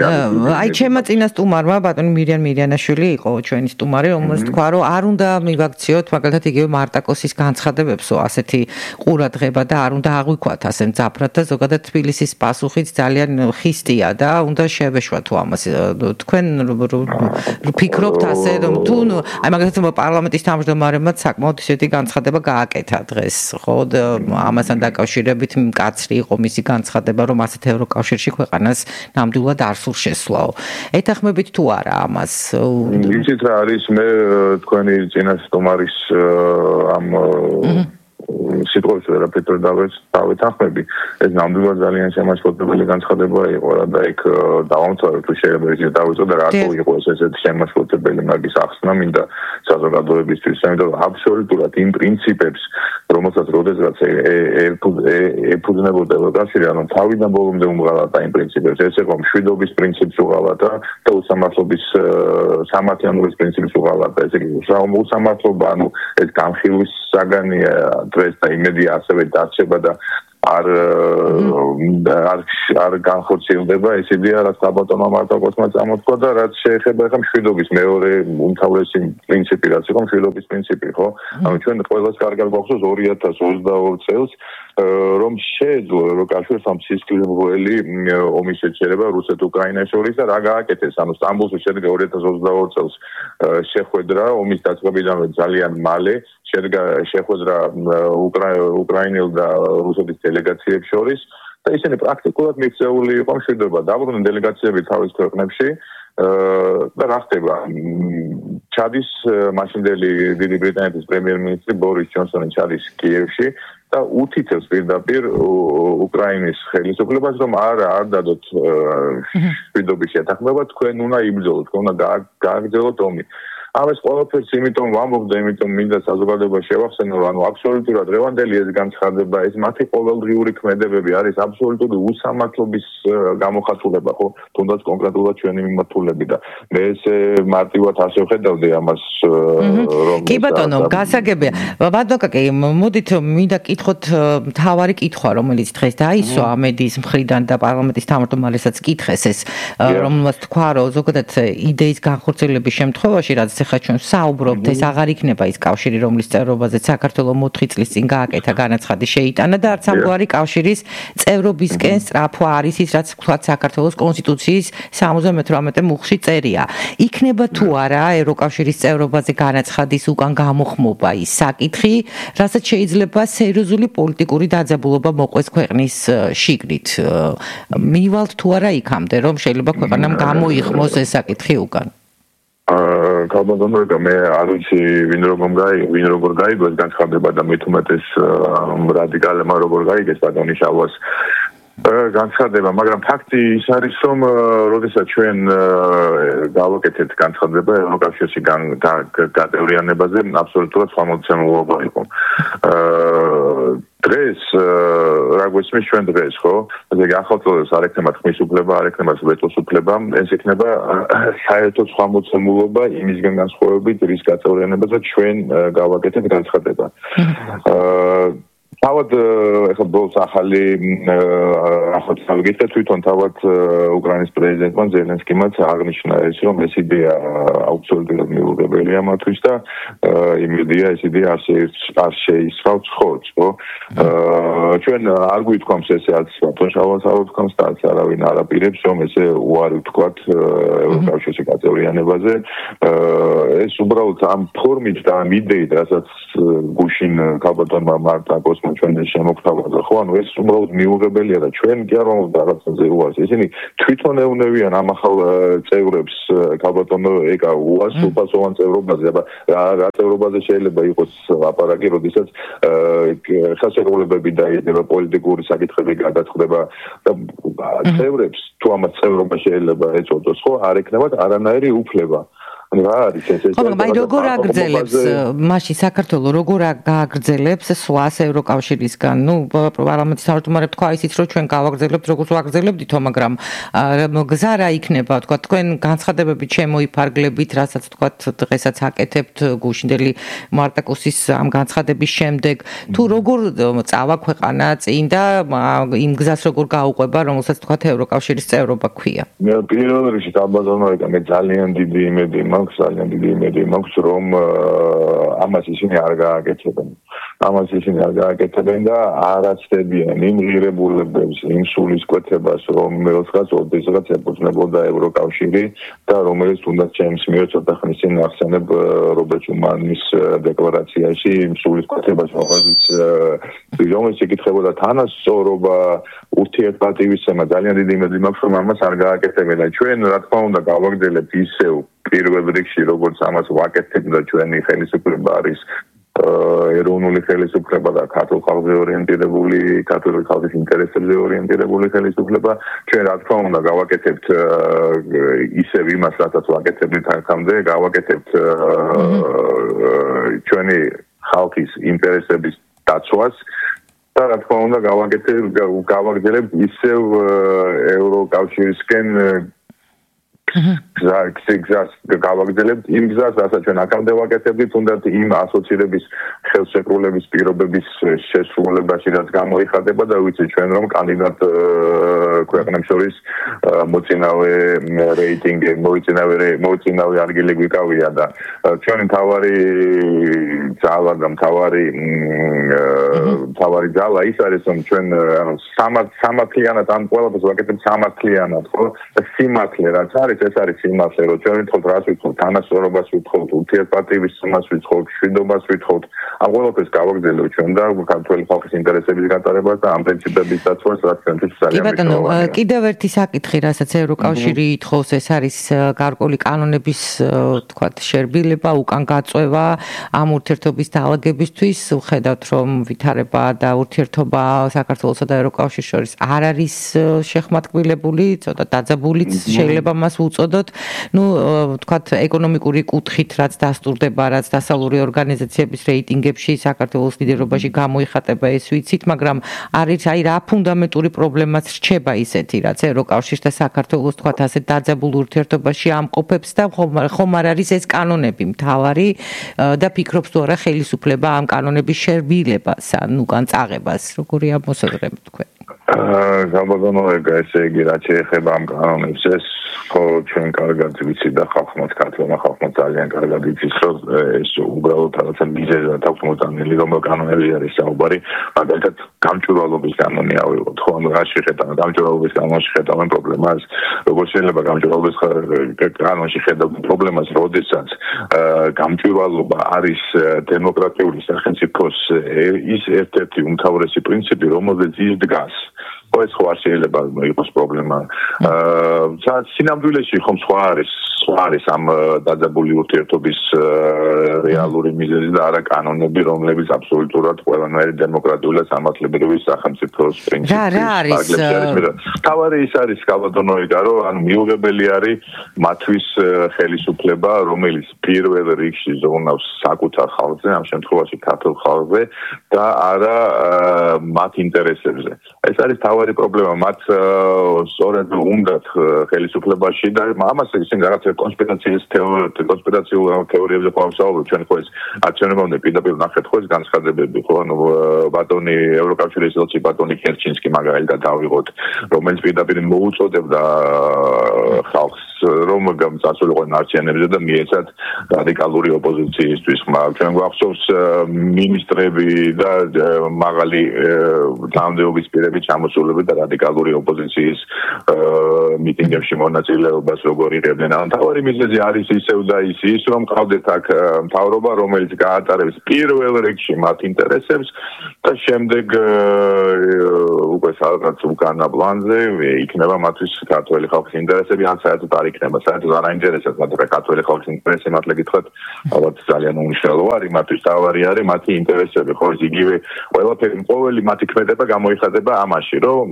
აი ჩემო წინასწარმოებმა ბატონი მირიან მირიანაშვილი იყო ჩვენი სტუმარი, რომელიც თქვა, რომ არ უნდა მივაქციოთ მაგალითად იგივე მარტაკოსის განცხადებებსო ასეთი ყურადღება და არ უნდა აღვიქვათ ასე მძაფრად და ზოგადად თბილისის პასუხიც ძალიან ხისტია და უნდა შევეშვათ ამას. თქვენ ფიქრობთ ასე რომ თუ აი მაგალითად პარლამენტის თავმჯდომარემაც საკმაოდ ისეთი განცხადება გააკეთა დღეს, ხო? ამასთან დაკავშირებით მკაცრი იყო მისი განცხადება, რომ ასეთ ევროკავშირში კავშირში ქვეყანას ნამდვილად არ სულ შესვლაო. ეთანხმებით თუ არა ამას? იცით რა არის მე თქვენი წინასწარმოების ამ სიტყვებს ვერაფერს დავეთანხმები. ეს ნამდვილად ძალიან შემაშფოთებელი განცხადება იყო რა და იქ დავამთავრეთ თუ შეიძლება ისე დავიწყო და რატო იყო ეს ესეთი შემაშფოთებელი მაგის ახსნა მინდა საზოგადოებისთვის, იმიტომ რომ აბსოლუტურად იმ პრინციპებს, რომელსაც როდესაც ეფუძნებოდა ევროკავშირი, ანუ თავიდან ბოლომდე უმღალატა იმ პრინციპებს, ეს იყო მშვიდობის პრინციპს უღალატა და უსამართლობის სამართლიანობის პრინციპს უღალატა. ესე იგი, უსამართლობა, ანუ ეს განხილვის საგანია დღეს და იმედია ასევე დარჩება და არ არ არ განხორციელდება ეს იდეა, რაც საბატონო მარტაკოსმა წამოთქვა და რაც შეეხება ახლა მშვიდობის მეორე უმთავრესი პრინციპი, რაც იყო მშვიდობის პრინციპი, ხო? ანუ ჩვენ ყველას კარგად გვახსოვს ორი ათას ოცდაორი წელს რომ შეეძლო ევროკავშირს ამ სისხლმღვრელი ომის შეჩერება რუსეთ-უკრაინას შორის და რა გააკეთეს, ანუ სტამბოლში შედგა ორი ათას ოცდაორი წელს შეხვედრა ომის დაწყებიდანვე ძალიან მალე შედგა შეხვედრა უკრაინელ და რუსეთის დელეგაციებს შორის და ისინი პრაქტიკულად მიქცეული იყო მშვიდობა. დაბრუნდნენ დელეგაციები თავის ქვეყნებში და რა ხდება? ჩადის მაშინდელი დიდი ბრიტანეთის პრემიერ-მინისტრი ბორის ჯონსონი ჩადის კიევში და უთითებს პირდაპირ უკრაინის ხელისუფლებას, რომ არა არ დადოთ მშვიდობის შეთანხმება, თქვენ უნდა იბრძოლოთ, თქვენ უნდა გააგრძელოთ ომი. ამას ყველაფერს იმიტომ ვამბობ და იმიტომ მინდა საზოგადოებას შევახსენო, რომ ანუ აბსოლუტურად რევანდელი ეს განცხადება, ეს მათი ყოველდღიური ქმედებები არის აბსოლუტური უსამართლობის გამოხატულება, ხო? თუნდაც კონკრეტულად ჩვენი მიმართულები და მე ესე მარტივად ასე ვხედავდი ამას, რომ კი ბატონო, გასაგებია. ბატონკაკი, მოდით მინდა კითხოთ მთავარი კითხვა, რომელიც დღეს დაისვა ამედის მხრიდან და პარლამენტის თავმჯდომარესაც კითხეს ეს, რომელმაც თქვა, რომ ზოგადად იდეის განხორციელების შემთხვევაში, რაც ახლა ჩვენ საუბრობთ, ეს აღარ იქნება ის კავშირი, რომლის წევრობაზე საქართველოს მოთხი წლის წინ გააკეთა განაცხადი შეიტანა და არც ამგვარი კავშირის წევრობისკენ სწრაფვა არის ის, რაც ვთქვათ საქართველოს კონსტიტუციის სამოცდამეთვრამეტე მუხლში წერია. იქნება თუ არა ევროკავშირის წევრობაზე განაცხადის უკან გამოხმობა ის საკითხი, რასაც შეიძლება სერიოზული პოლიტიკური დაძაბულობა მოყვეს ქვეყნის შიგნით. მივალთ თუ არა იქამდე, რომ შეიძლება ქვეყანამ გამოიხმოს ეს საკითხი უკან. აა კაბადონორგა მე არ ვიცი ვინ როგორ გაი ვინ როგორ გაიგოს განცხადება და მით უმეტეს რადიკალებმა როგორ გაიგეს ბატონი შავას განცხადება, მაგრამ ფაქტი ის არის, რომ როდესაც ჩვენ გავაკეთეთ განცხადება ევროკავშირში გადავრიანებაზე, აბსოლუტურად სხვა მოცემულობა იყო. დღეს რა გვესმის ჩვენ დღეს, ხო? ესე იგი ახალწოდებს არ ექნება ხმის უფლება, არ ექნება ვეტოს უფლება, ეს ექნება საერთოდ სხვა მოცემულობა იმისგან განსხვავებით, რის გადავრიანებაზე ჩვენ გავაკეთეთ განცხადება. თავად ეხლა ბოლოს ახალი ახალწოდება გითხეთ თვითონ თავად უკრაინის პრეზიდენტმა ზელენსკიმაც აღნიშნა ეს რომ ეს იდეა აბსოლუტურად მიუღებელია მათთვის და იმ იდეა ეს იდეა არ შეისწავს ხორცს ხო ჩვენ არ გვითქვამს ესეაც თონშავას არ ვთქვამს და არავინ არ აპირებს რომ ესე უარი ვთქვათ ევროკავშირში გაწევრიანებაზე ეს უბრალოდ ამ ფორმით და ამ იდეით რასაც გუშინ ქალბატონმა მარტა კოსმა ჩვენ შემოგთავაზა ხო ანუ ეს უბრალოდ მიუღებელია და ჩვენ კი არ ვამბობთ რაღაცაზე უარს ისინი თვითონ ეუნებიან ამ ახალ წევრებს ქალბატონო ეკა უარს უპასოვან წევრობაზე აბა რა წევრობაზე შეიძლება იყოს ლაპარაკი როდესაც ხელშეკრულებები დაიდება პოლიტიკური საკითხები გადაწყდება და წევრებს თუ ამას წევრობა შეიძლება ეწოდოს ხო არ ექნებათ არანაირი უფლება რა არის ეს ეს ხო მაგრამ როგორ აგრძელებს მაშინ საქართველოს როგორ გააგრძელებს სხვას ევროკავშირისგან ნუ პარლამენტის თავმჯდომარე თქვა ისიც რომ ჩვენ გავაგრძელებთ როგორც ვაგრძელებდით მაგრამ გზა რა იქნება თქვა თქვენ განცხადებებით შემოიფარგლებით რასაც თქვა დღესაც აკეთებთ გუშინდელი მარტაკუსის ამ განცხადების შემდეგ თუ როგორ წავა ქვეყანა წინ და იმ გზას როგორ გაუყვება რომელსაც თქვა ევროკავშირის წევრობა ქვია მე პირველ რიგში დაბაზონო მე ძალიან დიდი იმედი ძალიან დიდი იმედი მაქვს რომ ამას ისინი არ გააკეთებენ ამას ისინი არ გააკეთებენ და არ აცდებიან იმ ღირებულებებს იმ სულისკვეთებას რომელსაც ოდესღაც ეფუძნებოდა ევროკავშირი და რომელიც თუნდაც ჩემს მიერ ცოტა ხნის წინ ახსენებ რობერტ შუმანის დეკლარაციაში იმ სულისკვეთებას რომელიც რომელიც ეკითხებოდა თანასწორობა ურთიერთპატივისცემა ძალიან დიდი იმედი მაქვს რომ ამას არ გააკეთებენ და ჩვენ რა თქმა უნდა გავაგრძელებთ ისევ პირველ რიგში როგორც ამას ვაკეთებ და ჩვენი ხელისუფლება არის ეროვნული ხელისუფლება და ქართულ ხალხზე ორიენტირებული, ქართული ხალხის ინტერესებზე ორიენტირებული ხელისუფლება, ჩვენ რა თქმა უნდა გავაკეთებთ ისევ იმას, რასაც ვაკეთებთ აქამდე, გავაკეთებთ ჩვენი ხალხის ინტერესების დაცვას და რა თქმა უნდა გავაკეთებთ გავაგრძელებთ ისევ ევროკავშირისკენ გზას გავაგრძელებთ იმ გზას, რასაც ჩვენ აქამდე ვაკეთებდით, თუნდაც იმ ასოცირების ხელშეკრულების პირობების შესრულებაში, რაც გამოიხატება და ვიცით ჩვენ რომ კანდიდატ ქვეყნებს შორის მოწინავე რეიტინგი, მოწინავე მოწინავე ადგილი გვიკავია და ჩვენი თავარი ძალა და თავარი თავარი ძალა ის არის რომ ჩვენ სამართლიანად ამ ყველაფერს ვაკეთებთ სამართლიანად, ხო? სიმართლე რაც არის ეს არის სიმართლე, რომ ჩვენ ვთხოვთ რას ვთხოვთ, თანასწორობას ვთხოვთ, ურთიერთპატივისცემას ვთხოვთ, მშვიდობას ვთხოვთ. ამ ყველაფერს გავაგრძელებთ ჩვენ და ქართული ხალხის ინტერესების გატარებას და ამ პრინციპების დაცვას, რაც ჩვენთვის ძალიან მნიშვნელოვანია. კიდევ ერთი საკითხი, რასაც ევროკავშირი ითხოვს, ეს არის გარკვეული კანონების, თქვათ, შერბილება, უკან გაწევა ამ ურთიერთობის დაალაგებისთვის. ვხედავთ, რომ ვითარება და ურთიერთობა საქართველოსა და ევროკავშირის შორის არ არის შეხმატკბილებული, ცოტა დაძაბულიც შეიძლება მას უწოდოთ. ნუ თქვათ ეკონომიკური კუთხით რაც დასტურდება, რაც დასავლური ორგანიზაციების რეიტინგებში საქართველოს ლიდერობაში გამოიხატება ეს ვიცით, მაგრამ არის აი რა ფუნდამენტური პრობლემაც რჩება ისეთი, რაც ევროკავშირს და საქართველოს თქვათ ასე დაძაბულ ურთიერთობაში ამყოფებს და ხომ არ არის ეს კანონები მთავარი და ფიქრობს თუ არა ხელისუფლება ამ კანონების შერბილებას, ან უკან წაღებას, როგორი ამოსაზრებთ თქვენ? გაბატონო ეგა ესე იგი რაც შეეხება ამ კანონებს ეს ხო ჩვენ კარგად ვიცით და ხალხმაც ქართულმა ხალხმა ძალიან კარგად იცის რომ ეს უბრალოდ რაღაცა მიზეზად აქვს მოწამილი რომ კანონები არის საუბარი მაგალითად გამჭვირვალობის კანონი ავიღოთ ხო ანუ რა შეხედავთ გამჭვირვალობის კანონში ხედავენ პრობლემას როგორ შეიძლება გამჭვირვალობის კანონში ხედავთ პრობლემას როდესაც გამჭვირვალობა არის დემოკრატიული სახელმწიფოს ის ერთ-ერთი უმთავრესი პრინციპი რომელზეც ის დგას ეს ხო არ შეიძლება იყოს პრობლემა. აა სინამდვილეში ხომ სხვა არის, სხვა არის ამ დაძაბული ურთიერთობის რეალური მიზეზი და არა კანონები, რომლებიც აბსოლუტურად ყველანაირი დემოკრატიული და სამართლებრივი სახელმწიფოს პრინციპი. რა რა არის? თავარი ის არის კალბატონო იგარო, ანუ მიუღებელი არის მათთვის ხელისუფლება, რომელიც პირველ რიგში ზრუნავს საკუთარ ხალხზე, ამ შემთხვევაში ქართულ ხალხზე და არა მათ ინტერესებზე. ეს არის თავარი პრობლემა, მათ სწორედ უნდათ ხელისუფლებაში და ამას ისინი რაღაცა კონსპირაციის თეორიები, კონსპირაციულ თეორიებზე ყავსაუბრობენ, ჩვენ ხო ეს არჩევნებამდე პირდაპირ ნახეთ ხო ეს განცხადებები, ხო ანუ ბატონი ევროკავშირის ელჩი ბატონი კერჩინსკი მაგალითად დავიღოთ, რომელიც პირდაპირ მოუწოდებდა ხალხს რომ წასულიყო არჩევნებზე და მიეცათ რადიკალური ოპოზიციისთვის ხმა. ჩვენ გვახსოვს მინისტრები და მაღალი თანამდებობის პირები ჩამოსულები და რადიკალური ოპოზიციის მიტინგებში მონაწილეობას როგორ იღებდნენ. ან თავარი მიზეზი არის ისევ და ის ის რომ ყავდეთ აქ მთავრობა, რომელიც გაატარებს პირველ რიგში მათ ინტერესებს და შემდეგ უკვე სადღაც უკანა პლანზე იქნება მათთვის ქართველი ხალხის ინტერესები, ან საერთოდ არ იქნება, საერთოდ არ აინტერესებს მათ ქართველი ხალხის ინტერესები, მართლა გითხრათ, ალბათ ძალიან უნიშნელო არის, მათთვის თავარი არის მათი ინტერესები, ხო ის იგივე ყველაფერი ყოველი მათი ქმედება გამოიხატება ამაში, რომ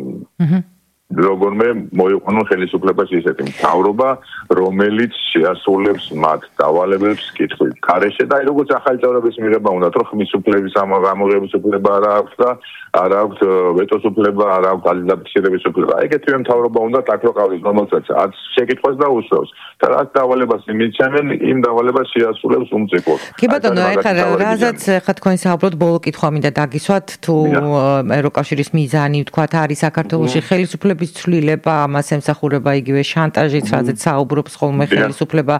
როგორმე მოიყვანონ ხელისუფლებაში ისეთი მთავრობა, რომელიც შეასრულებს მათ დავალებებს კითხვით. ქარეშე და როგორც ახალი წევრების მიღება უნდა, რომ ხმის უფლების ამოღების უფლება არ აქვს და არ აქვს ვეტოს უფლება, არ აქვს ძალადაფიქსირების უფლება. ეგეთივე მთავრობა უნდა აქ რო ყავდეს, რომელსაც არც შეკითხვას დაუსვევს და რაც დავალებას იმიცემენ, იმ დავალებას შეასრულებს უმწიფოდ. კი ბატონო, ეხლა რაზეც ხა თქვენ საუბრობთ, ბოლო კითხვა მინდა დაგისვათ, თუ ევროკავშირის მიზანი ვთქვათ არის საქართველოში ხელისუფლების ცვლილება, ამას ემსახურება იგივე შანტაჟიც, რაზეც საუბრობს ხოლმე ხელისუფლება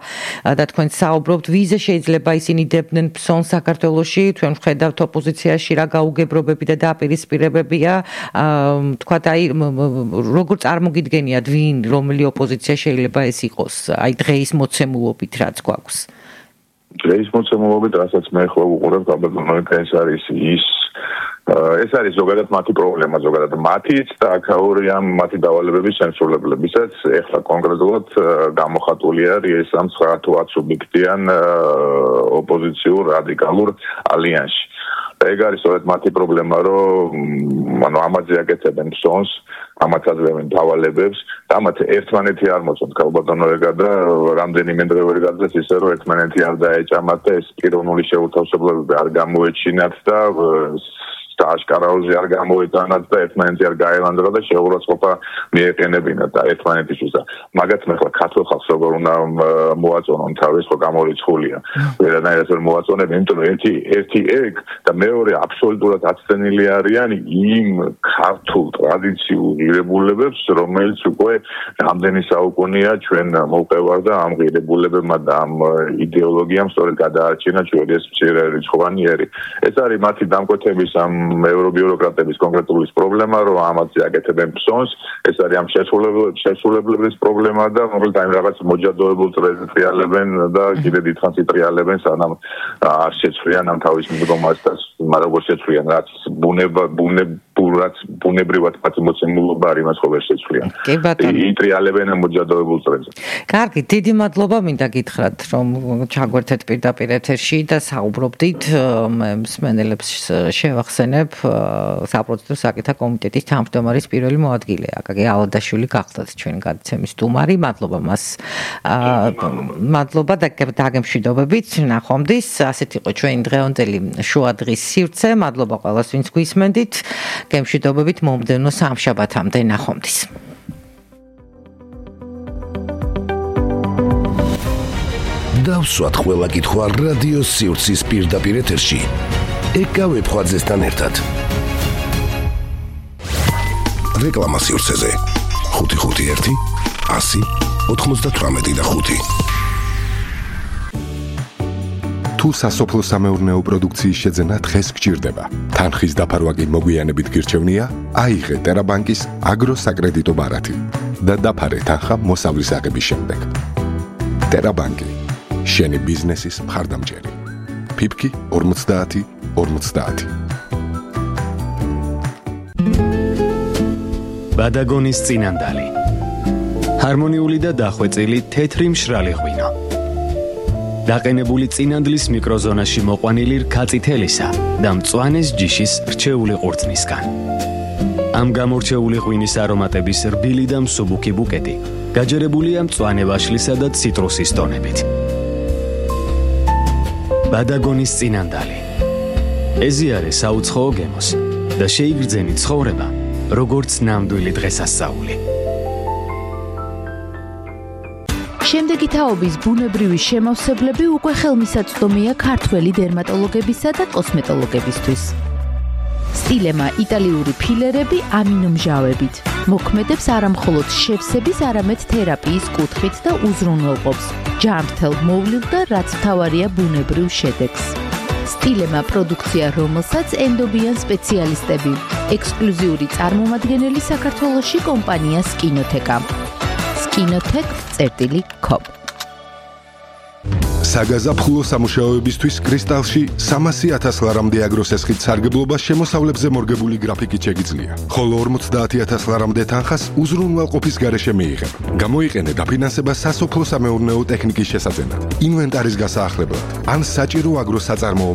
და თქვენ საუბრობთ, ვიზე შეიძლება ისინი დებდნენ ფსონს საქართველოში, თქვენ ვხედავთ ოპოზიციაში რა გაუგებრობები და დაპირისპირებებია, ვთქვათ, აი როგორ წარმოგიდგენიათ, ვინ, რომელი ოპოზიცია შეიძლება ეს იყოს, აი დღეის მოცემულობით რაც გვაქვს. დღეის მოცემულობით, რასაც მე ხო ვუყურებ, გაბატონო, ეს არის ის ეს არის ზოგადად მათი პრობლემა, ზოგადად მათიც და აქაურია მათი დავალებების შემსრულებლებისაც. ეხლა კონკრეტულად გამოხატული არის ეს ამ ცხრა თუ ათ სუბიექტიან ოპოზიციურ რადიკალურ ალიანსში. ეგ არის სწორედ მათი პრობლემა, რომ ანუ ამაზე აკეთებენ ფსონს, ამათ აძლევენ დავალებებს და ამათ ერთმანეთი არ მოწონთ ქალბატონო ეგა და რამდენიმე დღე ვერ გაძლეს ისე რომ ერთმანეთი არ დაეჭამათ და ეს პიროვნული შეუთავსებლობები არ გამოეჩინათ და აშკარაოზე არ გამოეტანათ და ერთმანეთი არ გაელანდრა და შეურაცხყოფა მიეყენებინათ და ერთმანეთისთვის და მაგათ მე ხლა ქართულ ხალხს როგორ უნდა მოაწონონ თავის ხო გამორიცხულია ვერანაირად ვერ მოაწონებენ იმიტომ რომ ერთი ერთი ეგ და მეორე აბსოლუტურად აცდენილი არიან იმ ქართულ ტრადიციულ ღირებულებებს რომელიც უკვე რამდენი საუკუნეა ჩვენ მოვყევარ და ამ ღირებულებებმა და ამ იდეოლოგიამ სწორედ გადაარჩინა ჩვენი ეს მცირე რიცხვოვანიერი ეს არის მათი დამკვეთების ამ ევრობიუროკრატების კონკრეტული პრობლემა, რომ ამაზე აკეთებენ ფსონს, ეს არის ამ შესრულებლების პრობლემა და რომელიც აი რაღაც მოჯადოებულ წრეზე ტრიალებენ და კიდე დიდხანს იტრიალებენ, სანამ არ შეცვლიან ამ თავის მდგომას და მაგრამ როგორ შეცვლიან, რაც ბუნება, ბუნებურად, ბუნებრივად პატიმოცემულობა არის, მას ხო ვერ შეცვლიან. იტრიალებენ ამ მოჯადოებულ წრეზე. კარგი, დიდი მადლობა მინდა გითხრათ, რომ ჩაგვერთეთ პირდაპირ ეთერში და საუბრობდით მსმენელებს შევახსენებ საპროცედურო საკითხთა კომიტეტის თავმჯდომარის პირველი მოადგილე აკაკი ალადაშვილი გახლდათ ჩვენი გადაცემის სტუმარი. მადლობა მას. მადლობა და დაგემშვიდობებით. ნახვამდის. ასეთ იყო ჩვენი დღევანდელი შუა დღის სივრცე. მადლობა ყველას, ვინც გვისმენდით. გემშვიდობებით მომდევნო სამშაბათამდე. ნახვამდის. დავსვათ ყველა კითხვა რადიო სივრცის პირდაპირ ეთერში. ეკავე ფხვაძესთან ერთად. რეკლამა სივრცეზე ხუთი ხუთი ერთი ასი ოთხმოცდათვრამეტი და ხუთი. თუ სასოფლო სამეურნეო პროდუქციის შეძენა დღეს გჭირდება, თანხის დაფარვა კი მოგვიანებით გირჩევნია, აიღე ტერაბანკის აგროსაკრედიტო ბარათი და დაფარე თანხა მოსავლის აღების შემდეგ. ტერაბანკი, შენი ბიზნესის მხარდამჭერი. ფიფკი ბადაგონის წინანდალი. ჰარმონიული და დახვეწილი თეთრი მშრალი ღვინო. დაყენებული წინანდლის მიკროზონაში მოყვანილი რქაწითელისა და მწვანეს ჯიშის რჩეული ყურძნისგან. ამ გამორჩეული ღვინის არომატების რბილი და მსუბუქი ბუკეტი გაჯერებულია მწვანე ვაშლისა და ციტრუსის ტონებით. ბადაგონის წინანდალი. ეზიარე საუცხოო გემოს და შეიგრძენი ცხოვრება, როგორც ნამდვილი დღესასწაული. შემდეგი თაობის ბუნებრივი შემავსებლები უკვე ხელმისაწვდომია ქართველი დერმატოლოგებისა და კოსმეტოლოგებისთვის. სტილემა იტალიური ფილერები ამინომჟავებით მოქმედებს არამხოლოდ შევსების, არამედ თერაპიის კუთხით და უზრუნველყოფს ჯანმრთელ მოვლილ და რაც მთავარია ბუნებრივ შედეგს. სტილემა პროდუქცია, რომელსაც ენდობიან სპეციალისტები, ექსკლუზიური წარმომადგენელი საქართველოში კომპანია სკინოთეკა. სკინოთეკ წერტილი კომ. საგაზაფხულო სამუშაოებისთვის კრისტალში სამასი ათას ლარამდე აგროსესხით სარგებლობა შემოსავლებზე მორგებული გრაფიკით შეგიძლია, ხოლო ორმოცდაათი ათას ლარამდე თანხას უზრუნველყოფის გარეშე მიიღებ. გამოიყენე დაფინანსება სასოფლო-სამეურნეო ტექნიკის შესაძენად, ინვენტარის გასაახლებლად ან საჭირო აგროს საწარმოო